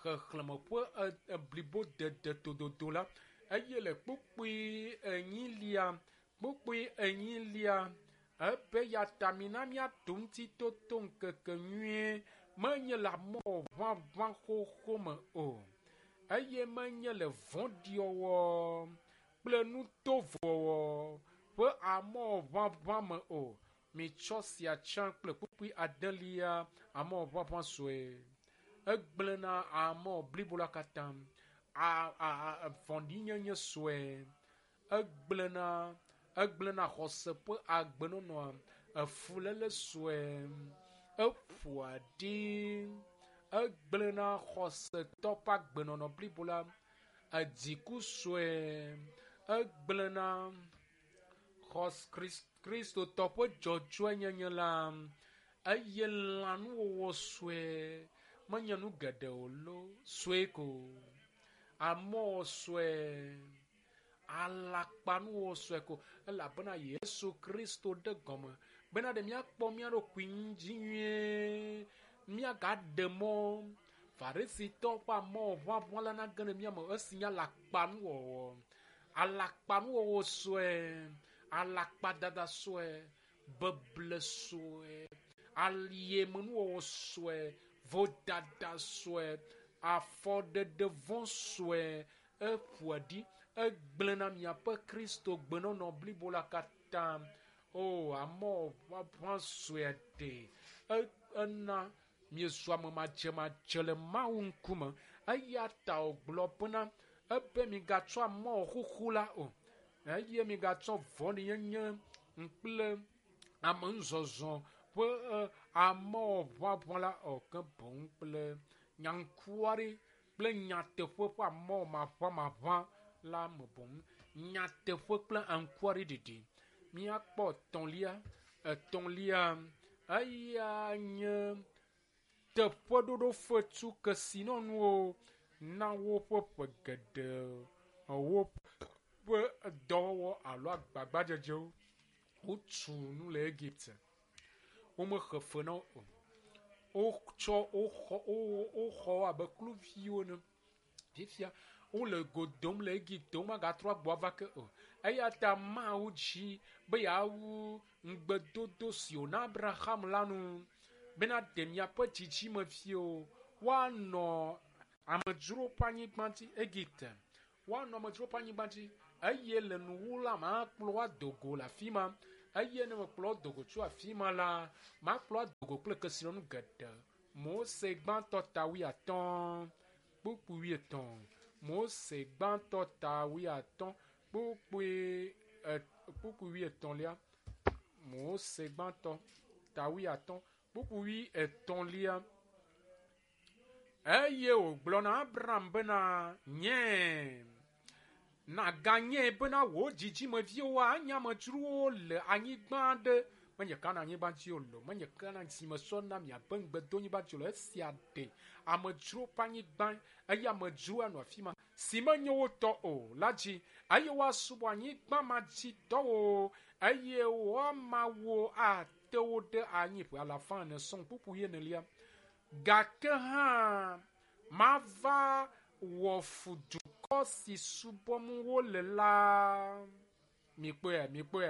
xexlẽme ƒe blibo dede tododo la eye le kpukpui enyilia kpukpui enyilia ebe ya ta mina míato ŋutitoto ŋkeke nyuie menye le amɔ ʋaʋã xoxo me o eye menye le vɔ̃ɖiwɔwɔ kple nutovɔwɔ ƒe amɔ ʋaʋã me o. Mitsɔ sia tsã kple kpukpui adelia amɔ ʋaʋã sue. Egblẽna amɔ blibo la katã. A, a, a, vɔ̃ɖinyenye sue. Egblẽna egblẽna xɔse ƒe agbenɔnɔa. Efuléle sue. Eƒoa ɖi. Egblẽna xɔsetɔ ƒe agbenɔnɔ blibo la. Edziku sue. Egblẽna xɔs Kristotɔ ƒe dzɔdzɔenyenye la. Eye lãnuwɔwɔ sue. Menye nu geɖe o lo sue ko. Amɔ sue. Alakpanuwɔwɔ sue ko. Elabena Yesu Kristo ɖe gɔme bena ɖe míakpɔ mía ɖokui dzi nyuie. Míagaɖe mɔ Farisitɔ ƒe amɔ ʋaʋã la nage ɖe mía me esi nye alakpanuwɔwɔ. Alakpanuwɔwɔ sue, alakpadada sue, beble sue, aliemenuwɔwɔ sue, vodada sue, afɔɖeɖe vɔ̃ sue, eƒoa ɖi, egblẽna miaƒe Kristo gbenɔnɔ blibo la katã. O, amɔ ʋaʋã sue ɖe ena miezu ame madzemadze le Mawu ŋkume. Eya ta wògblɔ bena ebe migatsɔ amɔ xoxo la o eye migatsɔ vɔ̃ɖinyenye kple ame ŋuzɔzɔ ƒe amɔ ʋaʋã la o ke boŋ kple nyaŋkuaɖi kple nyateƒe ƒe amɔ maʋamaʋã la me boŋ. Nyateƒe kple aŋkuaɖiɖiɖi. Míakpɔ etɔ̃lia, etɔ̃lia eya nye teƒeɖoɖo fetu kesinɔnuwo na woƒe ƒe geɖe woƒe dɔwɔwɔ alo agbagbadzedzewo. Wotu nu le Egipte. Womexe fe na wo o. Wotsɔ woxɔ woxɔ wo abe kluviwo ene. Fifia wole go dom le Egipte womagatrɔ agbɔ ava ke o. Eya ta Mawu dzi be yeawu ŋugbedodo si wòna Abraham la nu bena ɖe miaƒe dzidzimeviwo woanɔ amedzro ƒe anyigba dzi Egipte. Woanɔ amedzro ƒe anyigba dzi Eye le nuwu la makplɔ ado go le afi ma. Eye ne mekplɔ do go tso afi ma la, makplɔ ado go kple kesinɔnu geɖe. Mose gbãtɔ ta wuiatɔ̃ kpukpui wuietɔ̃. Mose gbãtɔ ta wuiatɔ̃ kpukpui e kpukpui wuietɔ̃lia. Mose gbãtɔ ta wuiatɔ̃ kpukpui wuietɔ̃lia. Eye wògblɔ na Abraham bena, nye naganye bena wò dzidzimeviwo anye amedzrowo le anyigba aɖe menye Kana anyigba dzi o lo, menye Kana si mesɔ na miabe ŋugbedonyigba dzi o lo. Esia ɖe amedzro ƒe anyigba eye amedzro anɔ afi ma si menye wo tɔ o la dzi eye woasubɔ anyigba ma dzi tɔwo eye woama wo ate wo ɖe anyi ƒe alafa ene sɔŋ kpukpui enelia. Gake hã mava wɔ fu dukɔ si subɔm wole la. Mikpɔe, mikpɔe,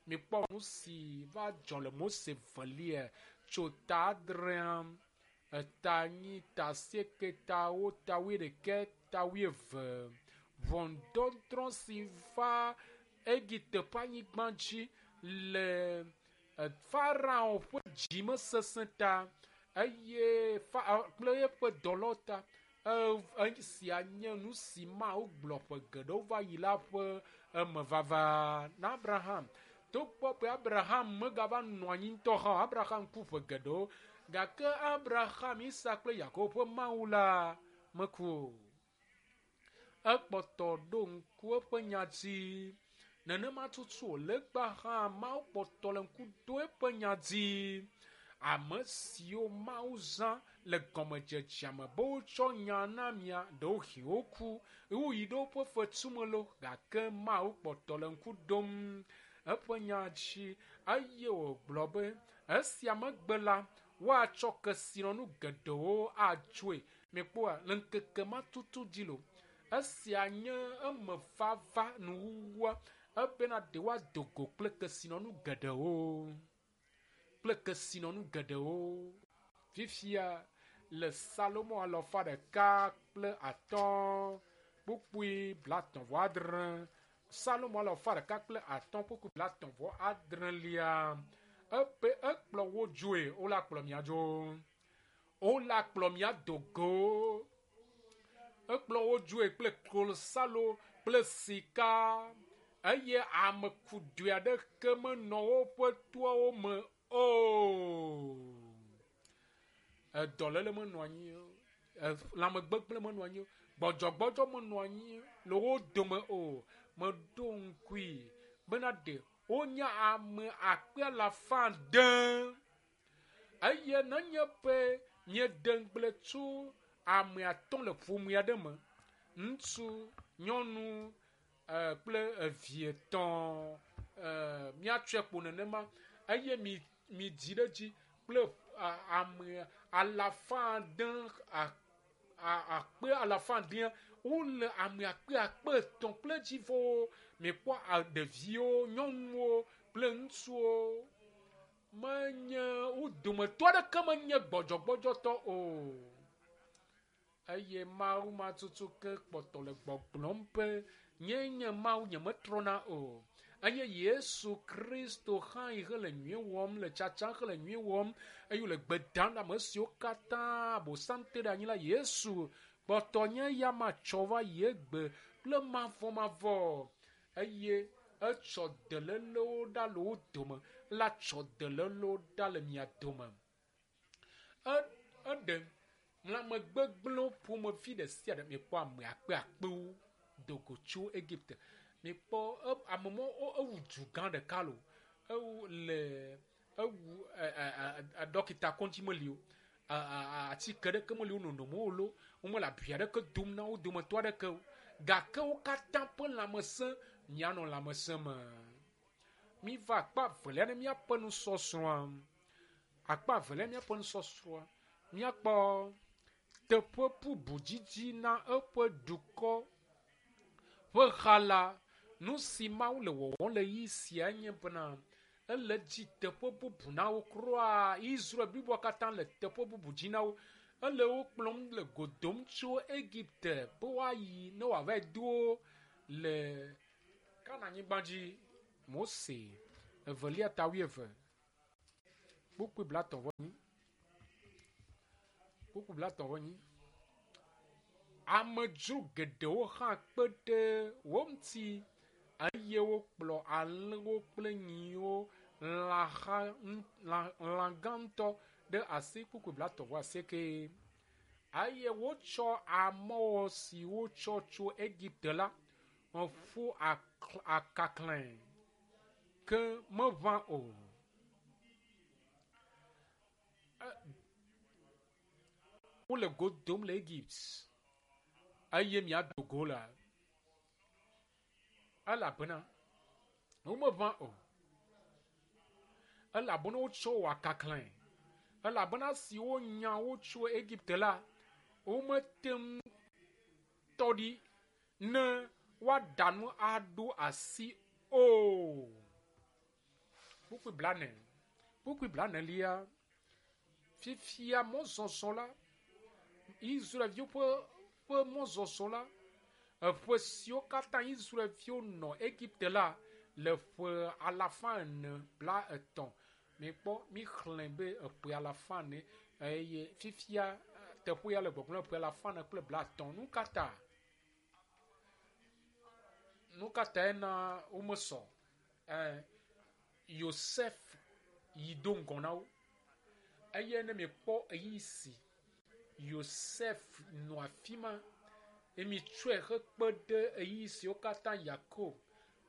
mikpɔ nu si va dzɔ le Mose velia tso ta adrea, eta enyi, ta asieke, ta ewo, ta wuiɖekɛ, ta wuieve. Ʋɔnudɔdrɔ̃ si va Egipte ƒe anyigba dzi le Farao ƒe dzimesesẽ ta eye fa kple eƒe dɔlawo ta. Esia nye nu si Mawu gblɔ ƒe geɖewo va yi la ƒe emevava na Abraham. Togbɔ be Abraham megava nɔ anyi ŋutɔ hã o, Abraham ku ƒe geɖewo gake Abraham, Isak kple Yakobo ƒe Mawu la meku o. Ekpɔtɔ ɖo ŋku eƒe nya dzi. Nenema tutu wòle egbea hã Mawu kpɔtɔ le ŋku ɖo eƒe nya dzi. Ame siwo Mawu zã le gɔmedzedzea me be wotsɔ nya na mia, ɖewohĩ woku, woyi ɖe woƒe fetu me lo, gake Mawu kpɔtɔ le ŋku ɖom eƒe nya dzi eye wògblɔ be esia megbe la, woatsɔ kesinɔnu geɖewo atsoe. Mikpɔa, le ŋkeke ma tutu dzi lo. Esia nye emevava nuwuwua ebena ɖe woado go kple kesinɔnu geɖewo. Kple kesinɔnu geɖewo. Fifia le Salomo alafa ɖeka kple atɔ̃ kpukpui blatɔ̃ vɔ adre. Salomo alafa ɖeka kple atɔ̃ kpukpui blatɔ̃ vɔ adrelia. Ebe ekplɔ wo dzoe, wola kplɔ mia dzo. Wola kplɔ mia do go. Ekplɔ wo dzoe kple klosalo kple sika eye ame kudoe aɖeke menɔ woƒe toawo me o. Edɔléle menɔ anyi o, lãmegbegblẽ menɔ anyi o, gbɔdzɔgbɔdzɔ menɔ anyi le wo dome o. Meɖo ŋkui bena ɖe wonye ame akpe alafa ade eye nenye be míede ŋugble tso ame atɔ̃ le ƒome aɖe me, ŋutsu, nyɔnu kple evi etɔ̃, míatsɔe kpo nenema eye mi midzi ɖe edzi kple ame alafa ade akpe alafa adea wole ame akpe akpe etɔ̃ kple dzivɔwo. Mikpɔ ɖeviwo, nyɔnuwo kple ŋutsuwo. Menye wo dometɔ aɖeke menye gbɔdzɔgbɔdzɔtɔ o. Eye Mawu ma tutu ke kpɔtɔ le gbɔgblɔm be nye nye Mawu nyemetrɔna o. Eye Yesu Kristo hã yi hele nyui wɔm le tsatsa hele nyui wɔm eye wòle gbe dam na ame siwo katã Abosam te ɖe anyi la. Yesu kpɔtɔ nye eya ma tsɔ va yi egbe kple mavɔmavɔ eye etsɔ delelewo ɖa le wo dome la tsɔ delelewo ɖa le mia dome. Eɖe lãmegbegblẽwo ƒomevi ɖe sia ɖe. Mikpɔ ame akpe akpewo do go tso Egipte. Mikpɔ ame mɔ ewu du gã ɖeka lo. Ewu le ewu ɖɔkita kɔdzi meli o. Atike ɖeke meli wo nonom o lo. Womele abi aɖeke dom na wo dometɔ aɖeke o. Gake wo katã ƒe lãmesẽ mianɔ lãmesẽ me. Miva akpa evelia ne míaƒe nusɔsrɔ̃a. Akpa evelia míaƒe nusɔsrɔ̃a. Míakpɔ teƒe bubu dzidzi na eƒe dukɔ ƒe xa la. Nu si Mawu le wɔwɔm le ɣeyiɣi sia nye bena ele dzi teƒe bubu na wo kura. Israel bliboa katã le teƒe bubu dzi na wo. Ele wo kplɔm le go dom tso Egipte be woayi ne woava do wo le Kananyigba dzi Mose evelia ta wuieve kpukpui blatɔ̃ vɔ enyi kpukpui blatɔ̃ vɔ enyi. Amedzro geɖewo hã kpe ɖe wo ŋuti eye wokplɔ alẽwo kple nyiwo lãha lã lã gã ŋutɔ ɖe asi kpukpui blatɔ̃ vɔ asieke eye wotsɔ amɔwɔ si wotsɔ tso Egipte la ƒu akaklãe ke meʋã o. Wole go dom le Egypt eye miado go la elabena womeʋã o. Elabena wotsɔ wɔ akaklãe. Elabena si wonya wo tso Egipte la, womete ŋu tɔ ɖi ne woaɖa nu aɖo asi o. Kpukpui blane. Kpukpui blanelia. Fifia mɔzɔzɔ la, Israelviwo ƒe ƒe mɔzɔzɔ la, eƒe siwo katã Israelviwo nɔ Egipte la le ƒe alafa ene bla etɔ̃. Mikpɔ mixlẽ be eƒe alafa ene eye fifia teƒe ya le gbɔgblɔm ƒe alafa ene kple bla etɔ̃. Nu ka ta? Nu ka tae na womesɔ? Ɛ Yosef yi do ŋgɔ na wo eye ne miekpɔ ɣeyiɣi si Yosef nɔ afi ma eye mitsɔe hekpe ɖe ɣeyiɣi siwo katã Yakob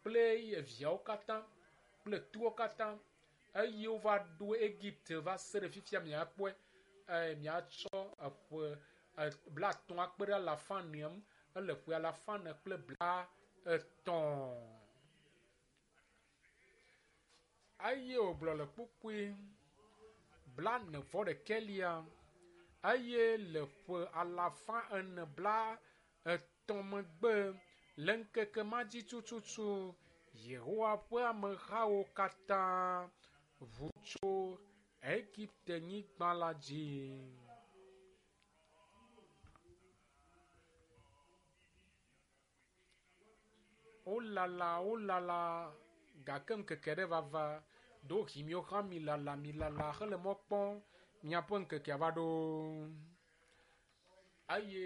kple eviawo katã kple towo katã eye wova ɖo Egipte va se ɖe fifia miakpɔe ɛ miatsɔ eƒe blatɔ̃ akpe ɖe alafa enea ŋu ele ƒe alafa ene kple bla etɔ̃. Eye wògblɔ le kpukpui blane vɔ ɖekɛlia eye le ƒe alafa ene bla etɔ̃ megbe le ŋkeke ma dzi tututu Yehowa ƒe amehawo katã ʋu tso Egipte nyigba la dzi. Wolala wolala gake ŋkeke ɖe vava ɖewohĩ miwo hã milala milala hele mɔ kpɔm miaƒe ŋkekea va ɖo. Eye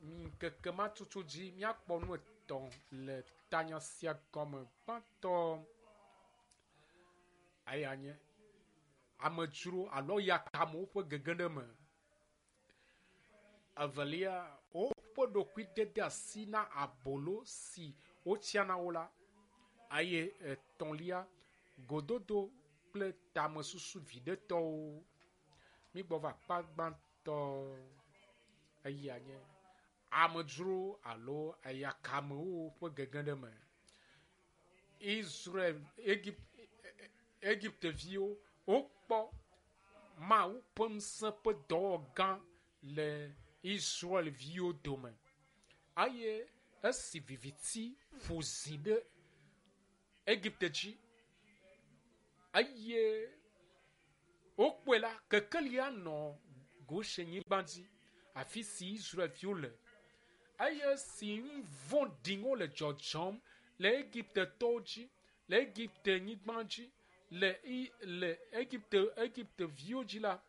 ŋkeke ma tutu dzi míakpɔ nu etɔ̃ le tanya sia gɔme. Gbãtɔ eya nye amedzro alo yakamewo ƒe gege ɖe eme. Evelia, woƒe ɖokuidede asi na abolo si wotsia na wo la. Eye etɔ̃lia, gododo kple tamesusu viɖetɔwo. Mígbɔ va akpa gbãtɔ eya nye amedzro alo eyakamewo ƒe gege ɖe eme. Israel, Egypt, Egipteviwo wokpɔ Mawu ƒe ŋusẽ ƒe dɔwɔgã le Israelviwo dome eye esi viviti ƒo zi ɖe Egipte dzi eye wokpɔe la kekelia nɔ Goshenyigba dzi afi si Israelviwo le eye esi nu vɔ̃ɖiwo le dzɔdzɔm le Egiptetɔwo dzi le Egipte nyigba dzi le i le Egipte Egipteviwo dzi la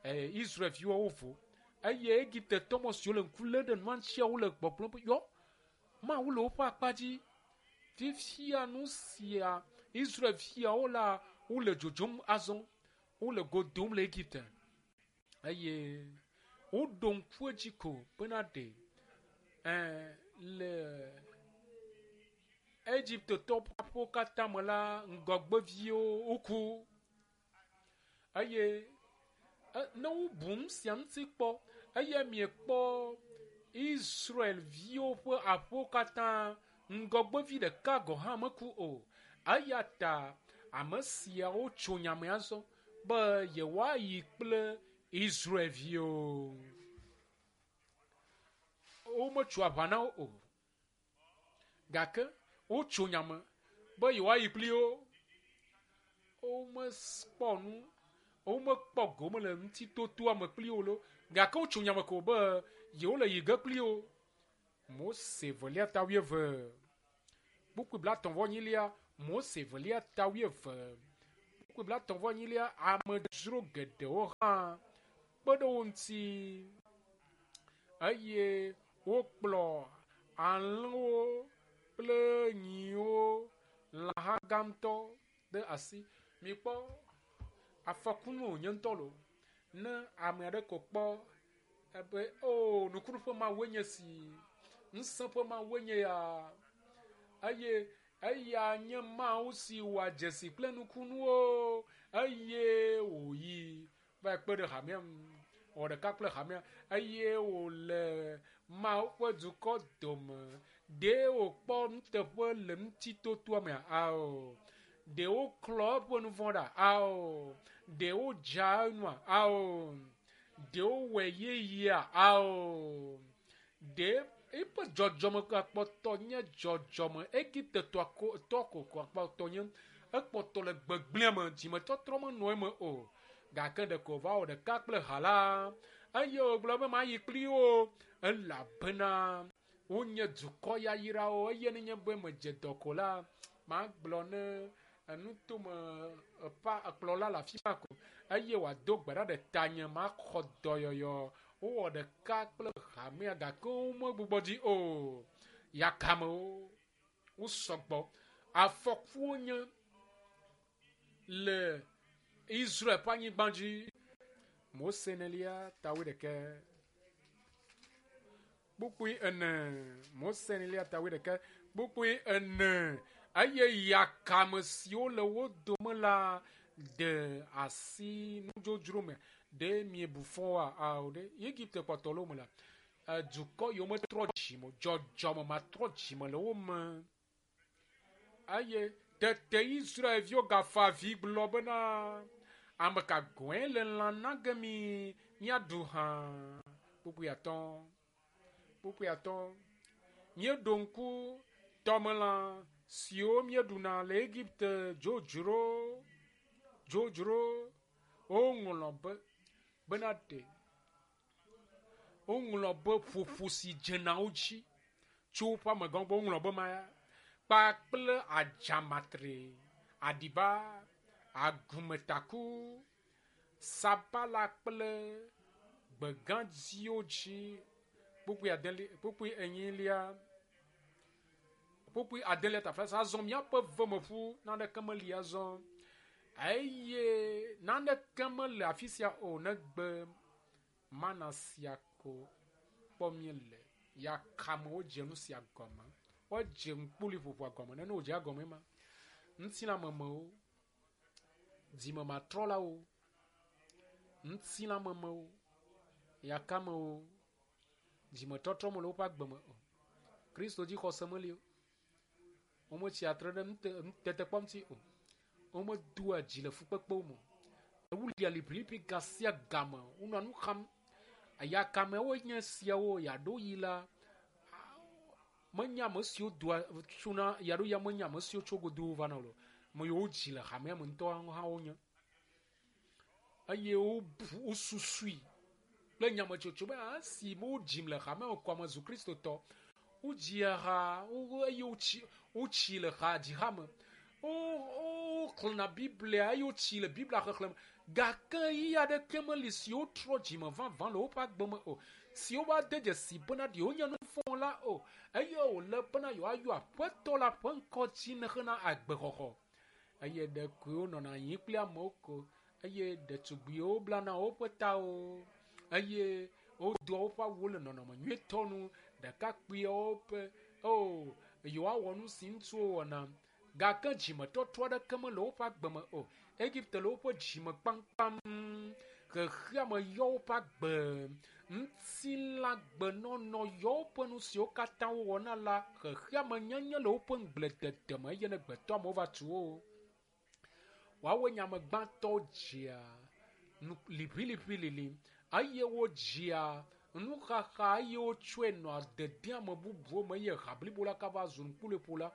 eh, Israelviwo wovo eye Egiptetɔ mɔ siwo le ŋku lém ɖe nua ŋutia wole gbɔgblɔm be yɔ Mawu le woƒe akpa dzi. Fifia nu sia Israelviawo la wole dzodzom azɔ wole go dom le Egipte eye woɖo ŋku edzi ko bena ɖe ɛ le Egiptetɔwo ƒe aƒewo katã me la ŋgɔgbeviwo woku eye ne wobu nu sia ŋuti kpɔ eye miekpɔ Israelviwo ƒe aƒewo katã ŋgɔgbevi ɖeka gɔ̃ hã meku o. Eya ta ame siawo tso nya me azɔ be yewoayi kple Israelviwo. Wometso aʋa na wo o gake wotso nya me be yewoayi kpli wo. Womekpɔ nu, womekpɔ gome le ŋutitotoa me kpli wo lo gake wotso nya me ko be yewole yi ge kpli wo. Mose velia ta wuieve Kpukpui blatɔ̃ vɔ enyilia, Mose evelia ta wuieve. Kpukpui blatɔ̃ vɔ enyilia, amedzro geɖewo hã kpe ɖe wo ŋuti eye wokplɔ alẽwo kple nyiwo, lãha gã ŋutɔ ɖe asi. Mikpɔ afɔkunu wònye ŋutɔ lo. Ne ame aɖe ko kpɔ ebe o nukunu ƒe Mawue nye si, ŋusẽ ƒe Mawue nye ya eye eya nye Mawu si wɔa dzesi kple nukunuwo eye wòyi va kpe ɖe hamea ŋu, wɔ ɖeka kple hamea eye wòle Mawu ƒe dukɔ dome. Ɖe wòkpɔ nuteƒe le ŋutitotoa mea? Ao. Ɖe woklɔ eƒe nu vɔ̃ ɖa? Ao. Ɖe wodza enua? Ao. Ɖe wowɔe yeyea? Ao. Ɖe eƒe dzɔdzɔme kpɔtɔ nye dzɔdzɔme Egipte tɔ ko tɔ ko kpɔtɔ nye ekpɔtɔ le gbegblẽ me dzimetɔtrɔ menɔ eme o. Gake ɖeko wòva wɔ ɖeka kple ha la eye wògblɔ be mayi kpli wo elabena wonye dukɔ yayrawo eye nenye be medze dɔ ko la magblɔ ne nutome pa kplɔla le afi ma ko eye wòado gbe ɖa ɖe tanye maxɔ dɔyɔyɔ. Wowɔ ɖeka kple hamea gake womegbugbɔ dzi o. Yakamewo wosɔgbɔ. Afɔkuwo nye le Israel ƒe anyigba dzi. Mose enelia ta wuiɖekɛ. Kpukpui ene. Mose enelia ta wuiɖekɛ. Kpukpui ene. Eye yakame siwo le wo dome la de asi nudzodzro me. Ɖe miebu fɔ woa? Ao ɖe Egipte kpɔtɔ le wo me la, dukɔ yiwo metrɔ dzime o, dzɔdzɔme matrɔ dzime le wo me. Eye tete Israelviwo gafa avi gblɔ bena, ame ka gɔ̃e le lã na ge mi míaɖu hã? Kpukpui atɔ̃. Kpukpui atɔ̃. Míeɖo ŋku tɔmelã siwo míeɖuna le Egipte dzodzro dzodzro woŋlɔ be bena ɖe woŋlɔ be ƒoƒo si dzena wo dzi tso woƒe amegãwo gbɔ woŋlɔ be ma ya kpakple adzamatre, aɖiba, agumetaku, sabala kple gbegãdziwo dzi. Kpukpui adelia, kpukpui enyilia, kpukpui adelia tafla azɔ míaƒe vemeƒu naneke meli azɔ eye naneke mele afi sia o negbe mana sia ko kpɔ míele. Yakamewo dze nu sia gɔme. Wodze ŋkpuli ƒoƒoa gɔme. Nene wòdze egɔme ma. Ŋutilãmemewo, dzimematrɔlawo, ŋutilãmemewo, yakamewo, dzimetɔtrɔ mele woƒe agbe me o. Kristo dzi xɔse meli o. Wometsi atre ɖe nutetekpɔ ŋuti o. Womedoa dzi le fukpekpewo me o. Wolia liʋiliʋi ga sia game. Wonɔa nu xam. Yakamewo nye siawo yaɖo yi la menye ame siwo doa tsona yaɖo ya menye ame siwo tso godo vana o. Ame yiwo dzi le hamea me ŋutɔ hã wonye. Eye wobu wosusui kple nyametsotso be esi wodzim le hamea me ko ame zu kristotɔ. Wodzia ha eye wotsi wotsi le ha dziha me. Wo woxlẽna Biblia eye wotsi le Biblia xexlẽ me. Gake ɣeyiɣi aɖeke meli si wotrɔ dzime vavã le woƒe agbe me o. Si wova de dzesi bena ɖe wonye nuvɔ̃la o eye wòle bena yewoayɔ Aƒetɔ la ƒe ŋkɔ dzi hena agbexɔxɔ. Eye ɖekoe wonɔna anyi kple amewo ko eye ɖetugbiwo blana woƒe tawo eye wodoa woƒe awuwo le nɔnɔme nyuietɔ nu. Ɖekakpuiawo ƒe o yewoawɔ nu si ŋutsuwo wɔna. Gake dzimetɔtrɔ aɖeke mele woƒe agbe me o. Egipte le woƒe dzime kpamkpam. Xexeame yɔ woƒe agbe. Ŋutilãgbenɔnɔ yɔ woƒe nu siwo katã wowɔna la. Xexeame nyenye le woƒe ŋugbledede me eye ne gbetɔ amewo va tu wo. Woawoe nye ame gbãtɔwo dzea liʋiliʋi lili eye wodzia nuxaxa eye wotsɔe nɔa dedem ame bubuwo me eye ha blibo la kava zu ŋkuleƒola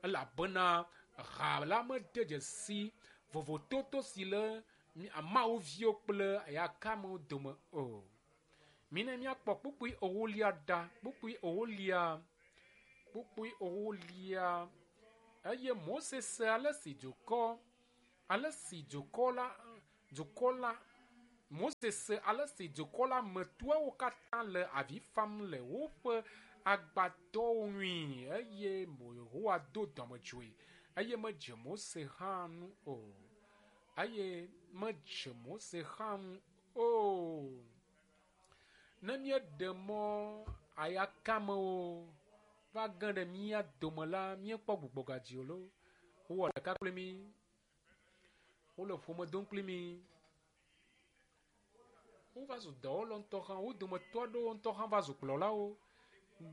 elabena ha la mede dzesi vovototo si le Mawu viwo kple yakamewo dome o. Mina míakpɔ kpukpui ewolia ɖa. Kpukpui ewolia, kpukpui ewolia Eye Mose se ale si dukɔ ale si dukɔ la dukɔ la Mose se ale si dukɔ la me toawo katã le avi fam le woƒe agbadɔwo ŋui eye Yehowa do dɔmedzoe eye medze Mose hã ŋu o. Eye medze Mose hã ŋu o. Ne míeɖe mɔ ayakamewo va ge ɖe mía dome la, míekpɔ gbugbɔgadzi o loo. Wowɔ ɖeka kpli mí. Wole ƒome dom kpli mí. Wova zu dɔwɔlawo ŋutɔ hã. Wo dometɔ aɖewo ŋutɔ hã va zu kplɔlawo.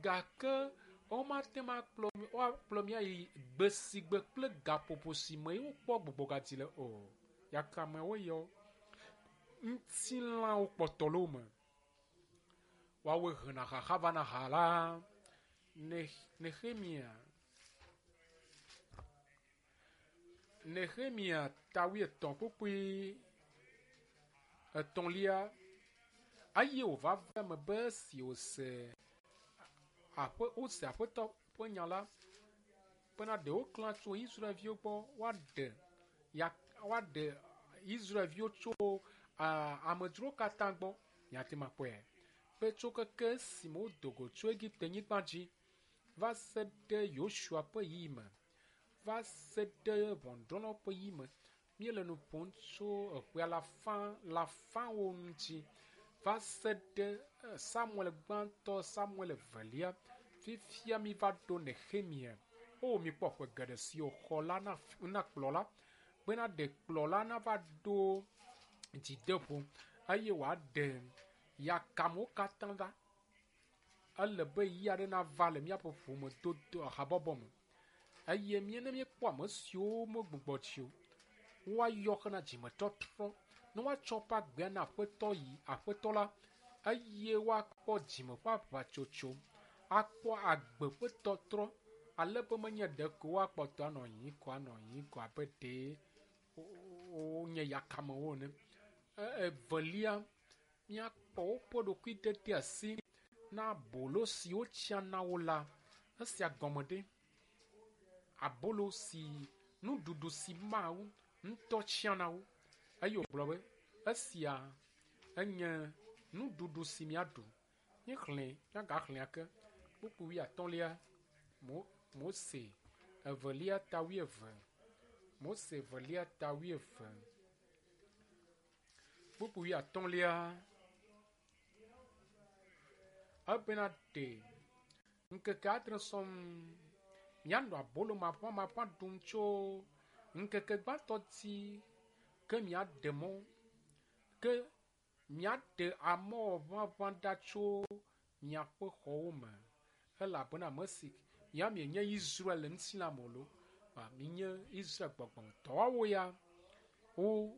Gake womate ŋu akplɔ woakplɔ mí ayi gbe si gbe kple gaƒoƒo si me wokpɔ gbugbɔgadzi le o. Yakamewo yɔ. Ŋutilãwo kpɔtɔ le wo me. Woawoe hena xaxa vana ha la. Nehemia Nehemia ta wuietɔ̃ kpukpui etɔ̃lia eye wòva va eme be esi wòse aƒe wose aƒetɔ ƒe nya la bena ɖe woklã tso Israelviwo gbɔ woaɖe ya woaɖe Israelviwo tso amedzrowo katã gbɔ. Miate ŋu akpɔe be tso keke esime wodo go tso Egipte nyigba dzi va se ɖe Yosua ƒe ɣeyiɣi me, va se ɖe ʋɔnudrɔ̃lawo ƒe ɣeyiɣi me, míele nu ƒom tso eƒe alafa alafawo ŋuti va se ɖe Samuel gbãtɔ, Samuel evelia. Fifia mi va ɖo Nehemia. O mikpɔ ƒe geɖe si wòxɔ la na na kplɔla bena ɖe kplɔla nava ɖo dzideƒo eye wòaɖe yakamewo katã ɖa. Ele be ɣeyiɣi aɖe nava le míaƒe ƒomedodo habɔbɔ me eye mí ne míekpɔ ame siwo megbugbɔ tsi o, woayɔ hena dzimetɔtrɔ ne woatsɔ woƒe agbea na aƒetɔ yi aƒetɔ la eye woakpɔ dzime ƒe aʋatsotso, akpɔ agbe ƒe tɔtrɔ ale be menye ɖeko woakpɔtɔ anɔ anyi ko anɔ anyi ko abe ɖe wonye yakamewo ene. Evelia, míakpɔ woƒe ɖokuitete asi na abolo si wotsia na wo la. Esia gɔme ɖe abolo si nuɖuɖu si Mawu ŋutɔ tsia na wo eye wògblɔ be esia enye nuɖuɖu si míaɖu. Míexlẽ míagaxlẽ ake kpukpui wuiatɔ̃lia Mo Mose evelia ta wuieve. Mose evelia ta wuieve. Kpukpui wuiatɔ̃lia ebena ɖe ŋkeke adre sɔŋ mianɔ abolo maʋamaʋã ɖum tso ŋkeke gbãtɔ dzi ke miaɖe mɔ ke miaɖe amɔwɔ ʋaʋã ɖa tso miaƒe xɔwo me elabena ame si mia mienye Israel le ŋutilã me o loo, minye Israel gbɔgbɔ me. Tɔwoawo ya wo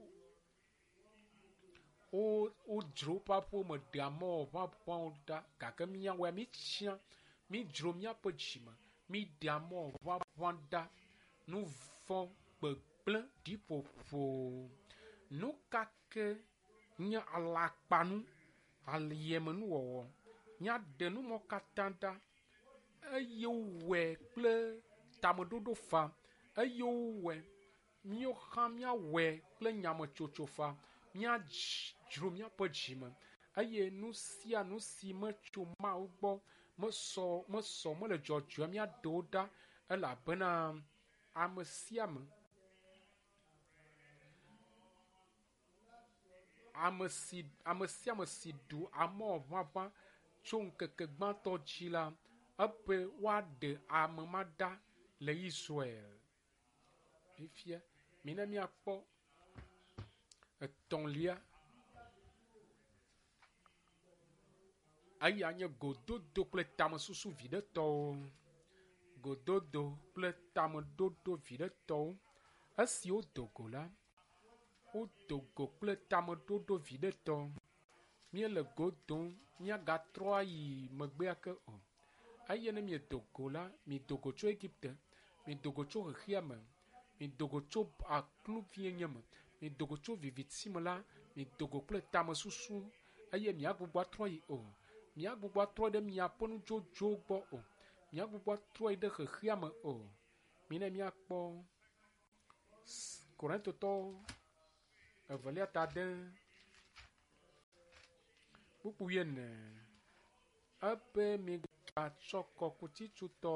wo wodzro woƒe aƒewo me ɖe amɔwɔ ʋaʋãwo ɖa gake míawoa míetsia mídzro míaƒe dzime míɖe amɔwɔ ʋaʋã ɖa nu vɔ̃ gbegblẽ ɖiƒoƒo. Nu ka ke nye alakpanu aliemenuwɔwɔ míaɖe numɔ katã ɖa eye wowɔe kple tameɖoɖo fa eye wowɔe míawo hã míawɔe kple nyametsotso fa míadzro míaƒe dzime eye nu sia nu si metso Mawu gbɔ mesɔ mesɔ mele dzɔdzɔe míaɖe wo ɖa elabena ame sia ame ame si ame sia ame si ɖu amɔwɔ ʋaʋã tso ŋkeke gbãtɔ dzi la ebe woaɖe ame ma ɖa le Israel. Fifia mina míakpɔ etɔ̃lia eya nye gododo kple tamesusu viɖetɔwo. Gododo kple tameɖoɖo viɖetɔwo. Esi wodo go la, wodo go kple tameɖoɖo viɖetɔ. Míele go dom míagatrɔ ayi megbea ke o. Eye ne miedo go la, mido go tso Egipte, mido go tso xexea me, mido go tso akluvienye me, mido go tso viviti me la, mido go kple tamesusu eye miagbugbɔ atrɔ yi o. Miagbugbɔ atrɔ ɖe miaƒe nudzodzowo gbɔ o. Miagbugbɔ atrɔ yi ɖe xexea me o. Mina míakpɔ Korintotɔwo evelia ta ade kpukpui wuiene. Ebe migatsɔ kɔkutitsutɔ,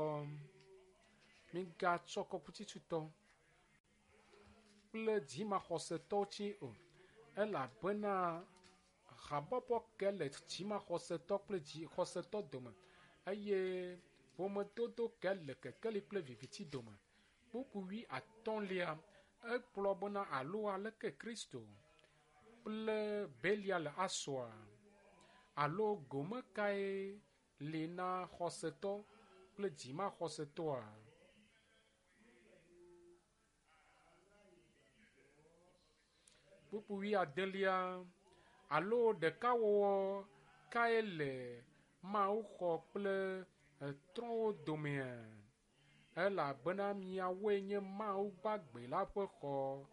migatsɔ kɔkutitsutɔ kple dzimaxɔsetɔwo tsi o, elabena habɔbɔ ke le dzimaxɔsetɔ kple dzixɔsetɔ dome eye ƒomedodo ke le kekeli kple viviti dome. Kpukpui wuiatɔ̃lia egblɔ bena alo aleke Kristo kple Belial asɔa alo gome kae li na xɔsetɔ kple dzimaxɔsetɔa? Kpukpui wuiadelia alo ɖekawɔwɔ kae le Mawuxɔ kple trɔ̃wo domea? Elabena miawoe nye Mawu gbagbe la ƒe xɔ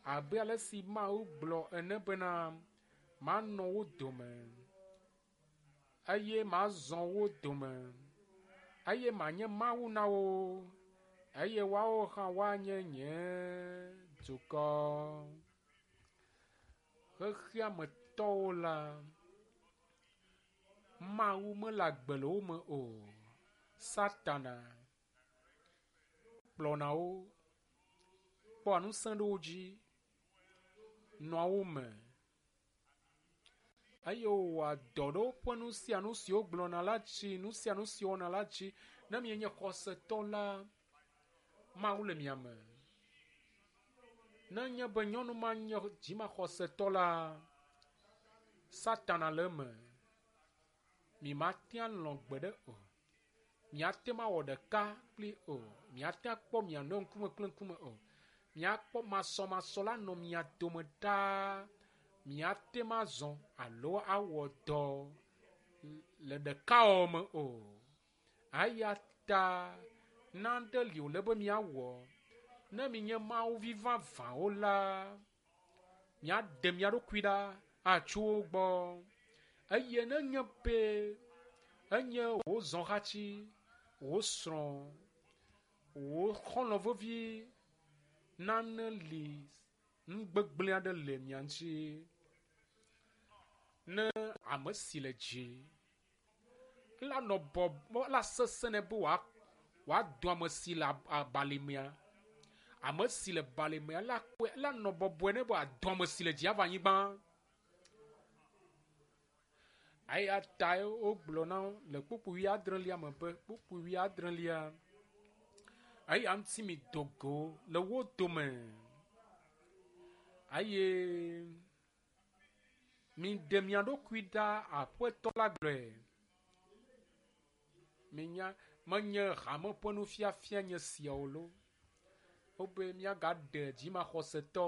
abe ale si Mawu gblɔ ene bena manɔ wo dome eye mazɔ wo dome eye manye Mawu na wo eye woawo hã woanye nye dukɔ. Xexea me tɔwo la, Mawu mele agbe le wo me o. Satana kplɔna wo, kpɔa ŋusẽ ɖe wo dzi, nɔa wo me eye wòwɔa dɔ ɖe woƒe nu sia nu si wogblɔna la dzi, nu sia nu si wɔna la dzi. Ne mienye xɔsetɔ la, Mawu le mia me. Ne nye be nyɔnu ma nye dzimaxɔsetɔ la, Satana le eme. Mimate alɔ̃ gbeɖe o. Miate ŋu awɔ ɖeka kpli o. Miate akpɔ mia nɔewo ŋkume kple ŋkume o. Miakpɔ masɔmasɔ la nɔ mia dome ɖaa. Miate ŋu azɔ alo awɔ dɔ le ɖekawɔwɔ me o. Eya ta nane li wòle be miawɔ. Ne minye Mawuvi vavãwo la, miaɖe mia ɖokui ɖa atso wo gbɔ. Eye nenye be enye wò zɔhatsi, wò srɔ̃, wò xɔlɔ̃ vevi, nane li nu gbegblẽ aɖe le mia ŋuti. Ne ame si le dzi la nɔ bɔbɔ la sesẽ nɛ be wòado ame si le abalimea. Ame si le balimea la kpɔe la nɔ bɔbɔe nɛ be wòado ame si le dzi ava anyigba. Eya tae wogblɔ na le kpukpui wuiadrelia me be kpukpui wuiadrelia eya ŋuti mi do go le wo dome eye miɖe mia ɖokui ɖa Aƒetɔ la gblɔe. Minya menye hame ƒe nufiafia nye siawo loo. Wobe míagaɖe dzimaxɔsetɔ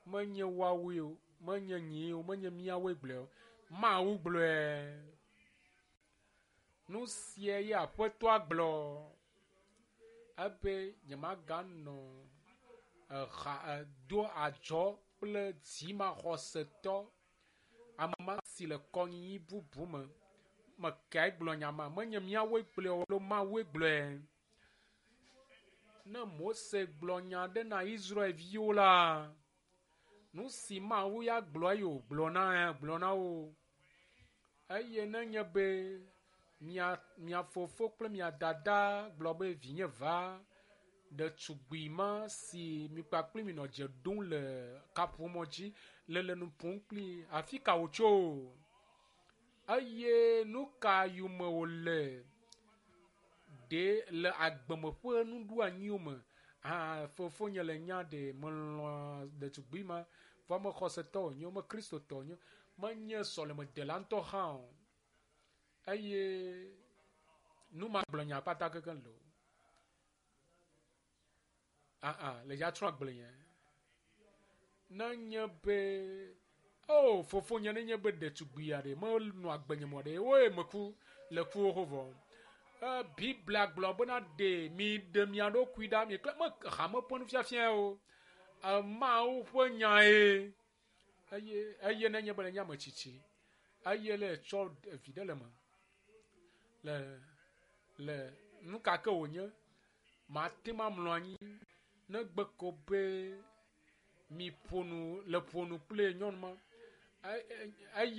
menye woawoe o, menye nyee o, menye míawoe gblɔe o. Mawu gblɔe. Nu sia ye Aƒetɔa gblɔ ebe nyemaganɔ eha do adzɔ kple dzimaxɔsetɔ ame ma si le kɔnyinyi bubu me. Mekae gblɔ nya ma? Menye míawoe gblɔe o alo Mawue gblɔe. Ne Mose gblɔ nya aɖe na Israelviwo la, nu si Mawu ya gblɔ eye wògblɔ na gblɔ na wo. Eye nenye be mia mia fofo kple mia dada gblɔ be vinye va ɖetugbui ma si mi kpakple mi nɔ dze ɖom le kaƒomɔ dzi le le nu ƒom kpli afi ka wòtso? Eye nu ka yome wòle ɖe le agbeme ƒe nuɖoanyiwo me? Hã fofonye le nya ɖe melɔ̃a ɖetugbui ma vɔ me xɔsetɔ wònye, me kristotɔ wònye, menye sɔlemedela ŋutɔ hã o. Eye nu ma gblɔ nya kpata kekeŋ le o. Ah le dza trɔ agble nye. Nenye be o fofonye nenye be ɖetugbui aɖe menɔ agbe nye mɔ ɖe woe meku le kuwo ho vɔ. E Biblia gblɔ bena ɖe mi ɖe mia ɖokui ɖa mi kple me hame ƒe nufiafia o. Mawu ƒe nyae. Eye eye nenye be le nye ame tsitsi eye le tsɔ vi ɖe le me le le nu ka ke wònye Mate ŋu amlɔ anyi negbe ko be mi ƒo nu le ƒo nu kple nyɔnu ma. Eye.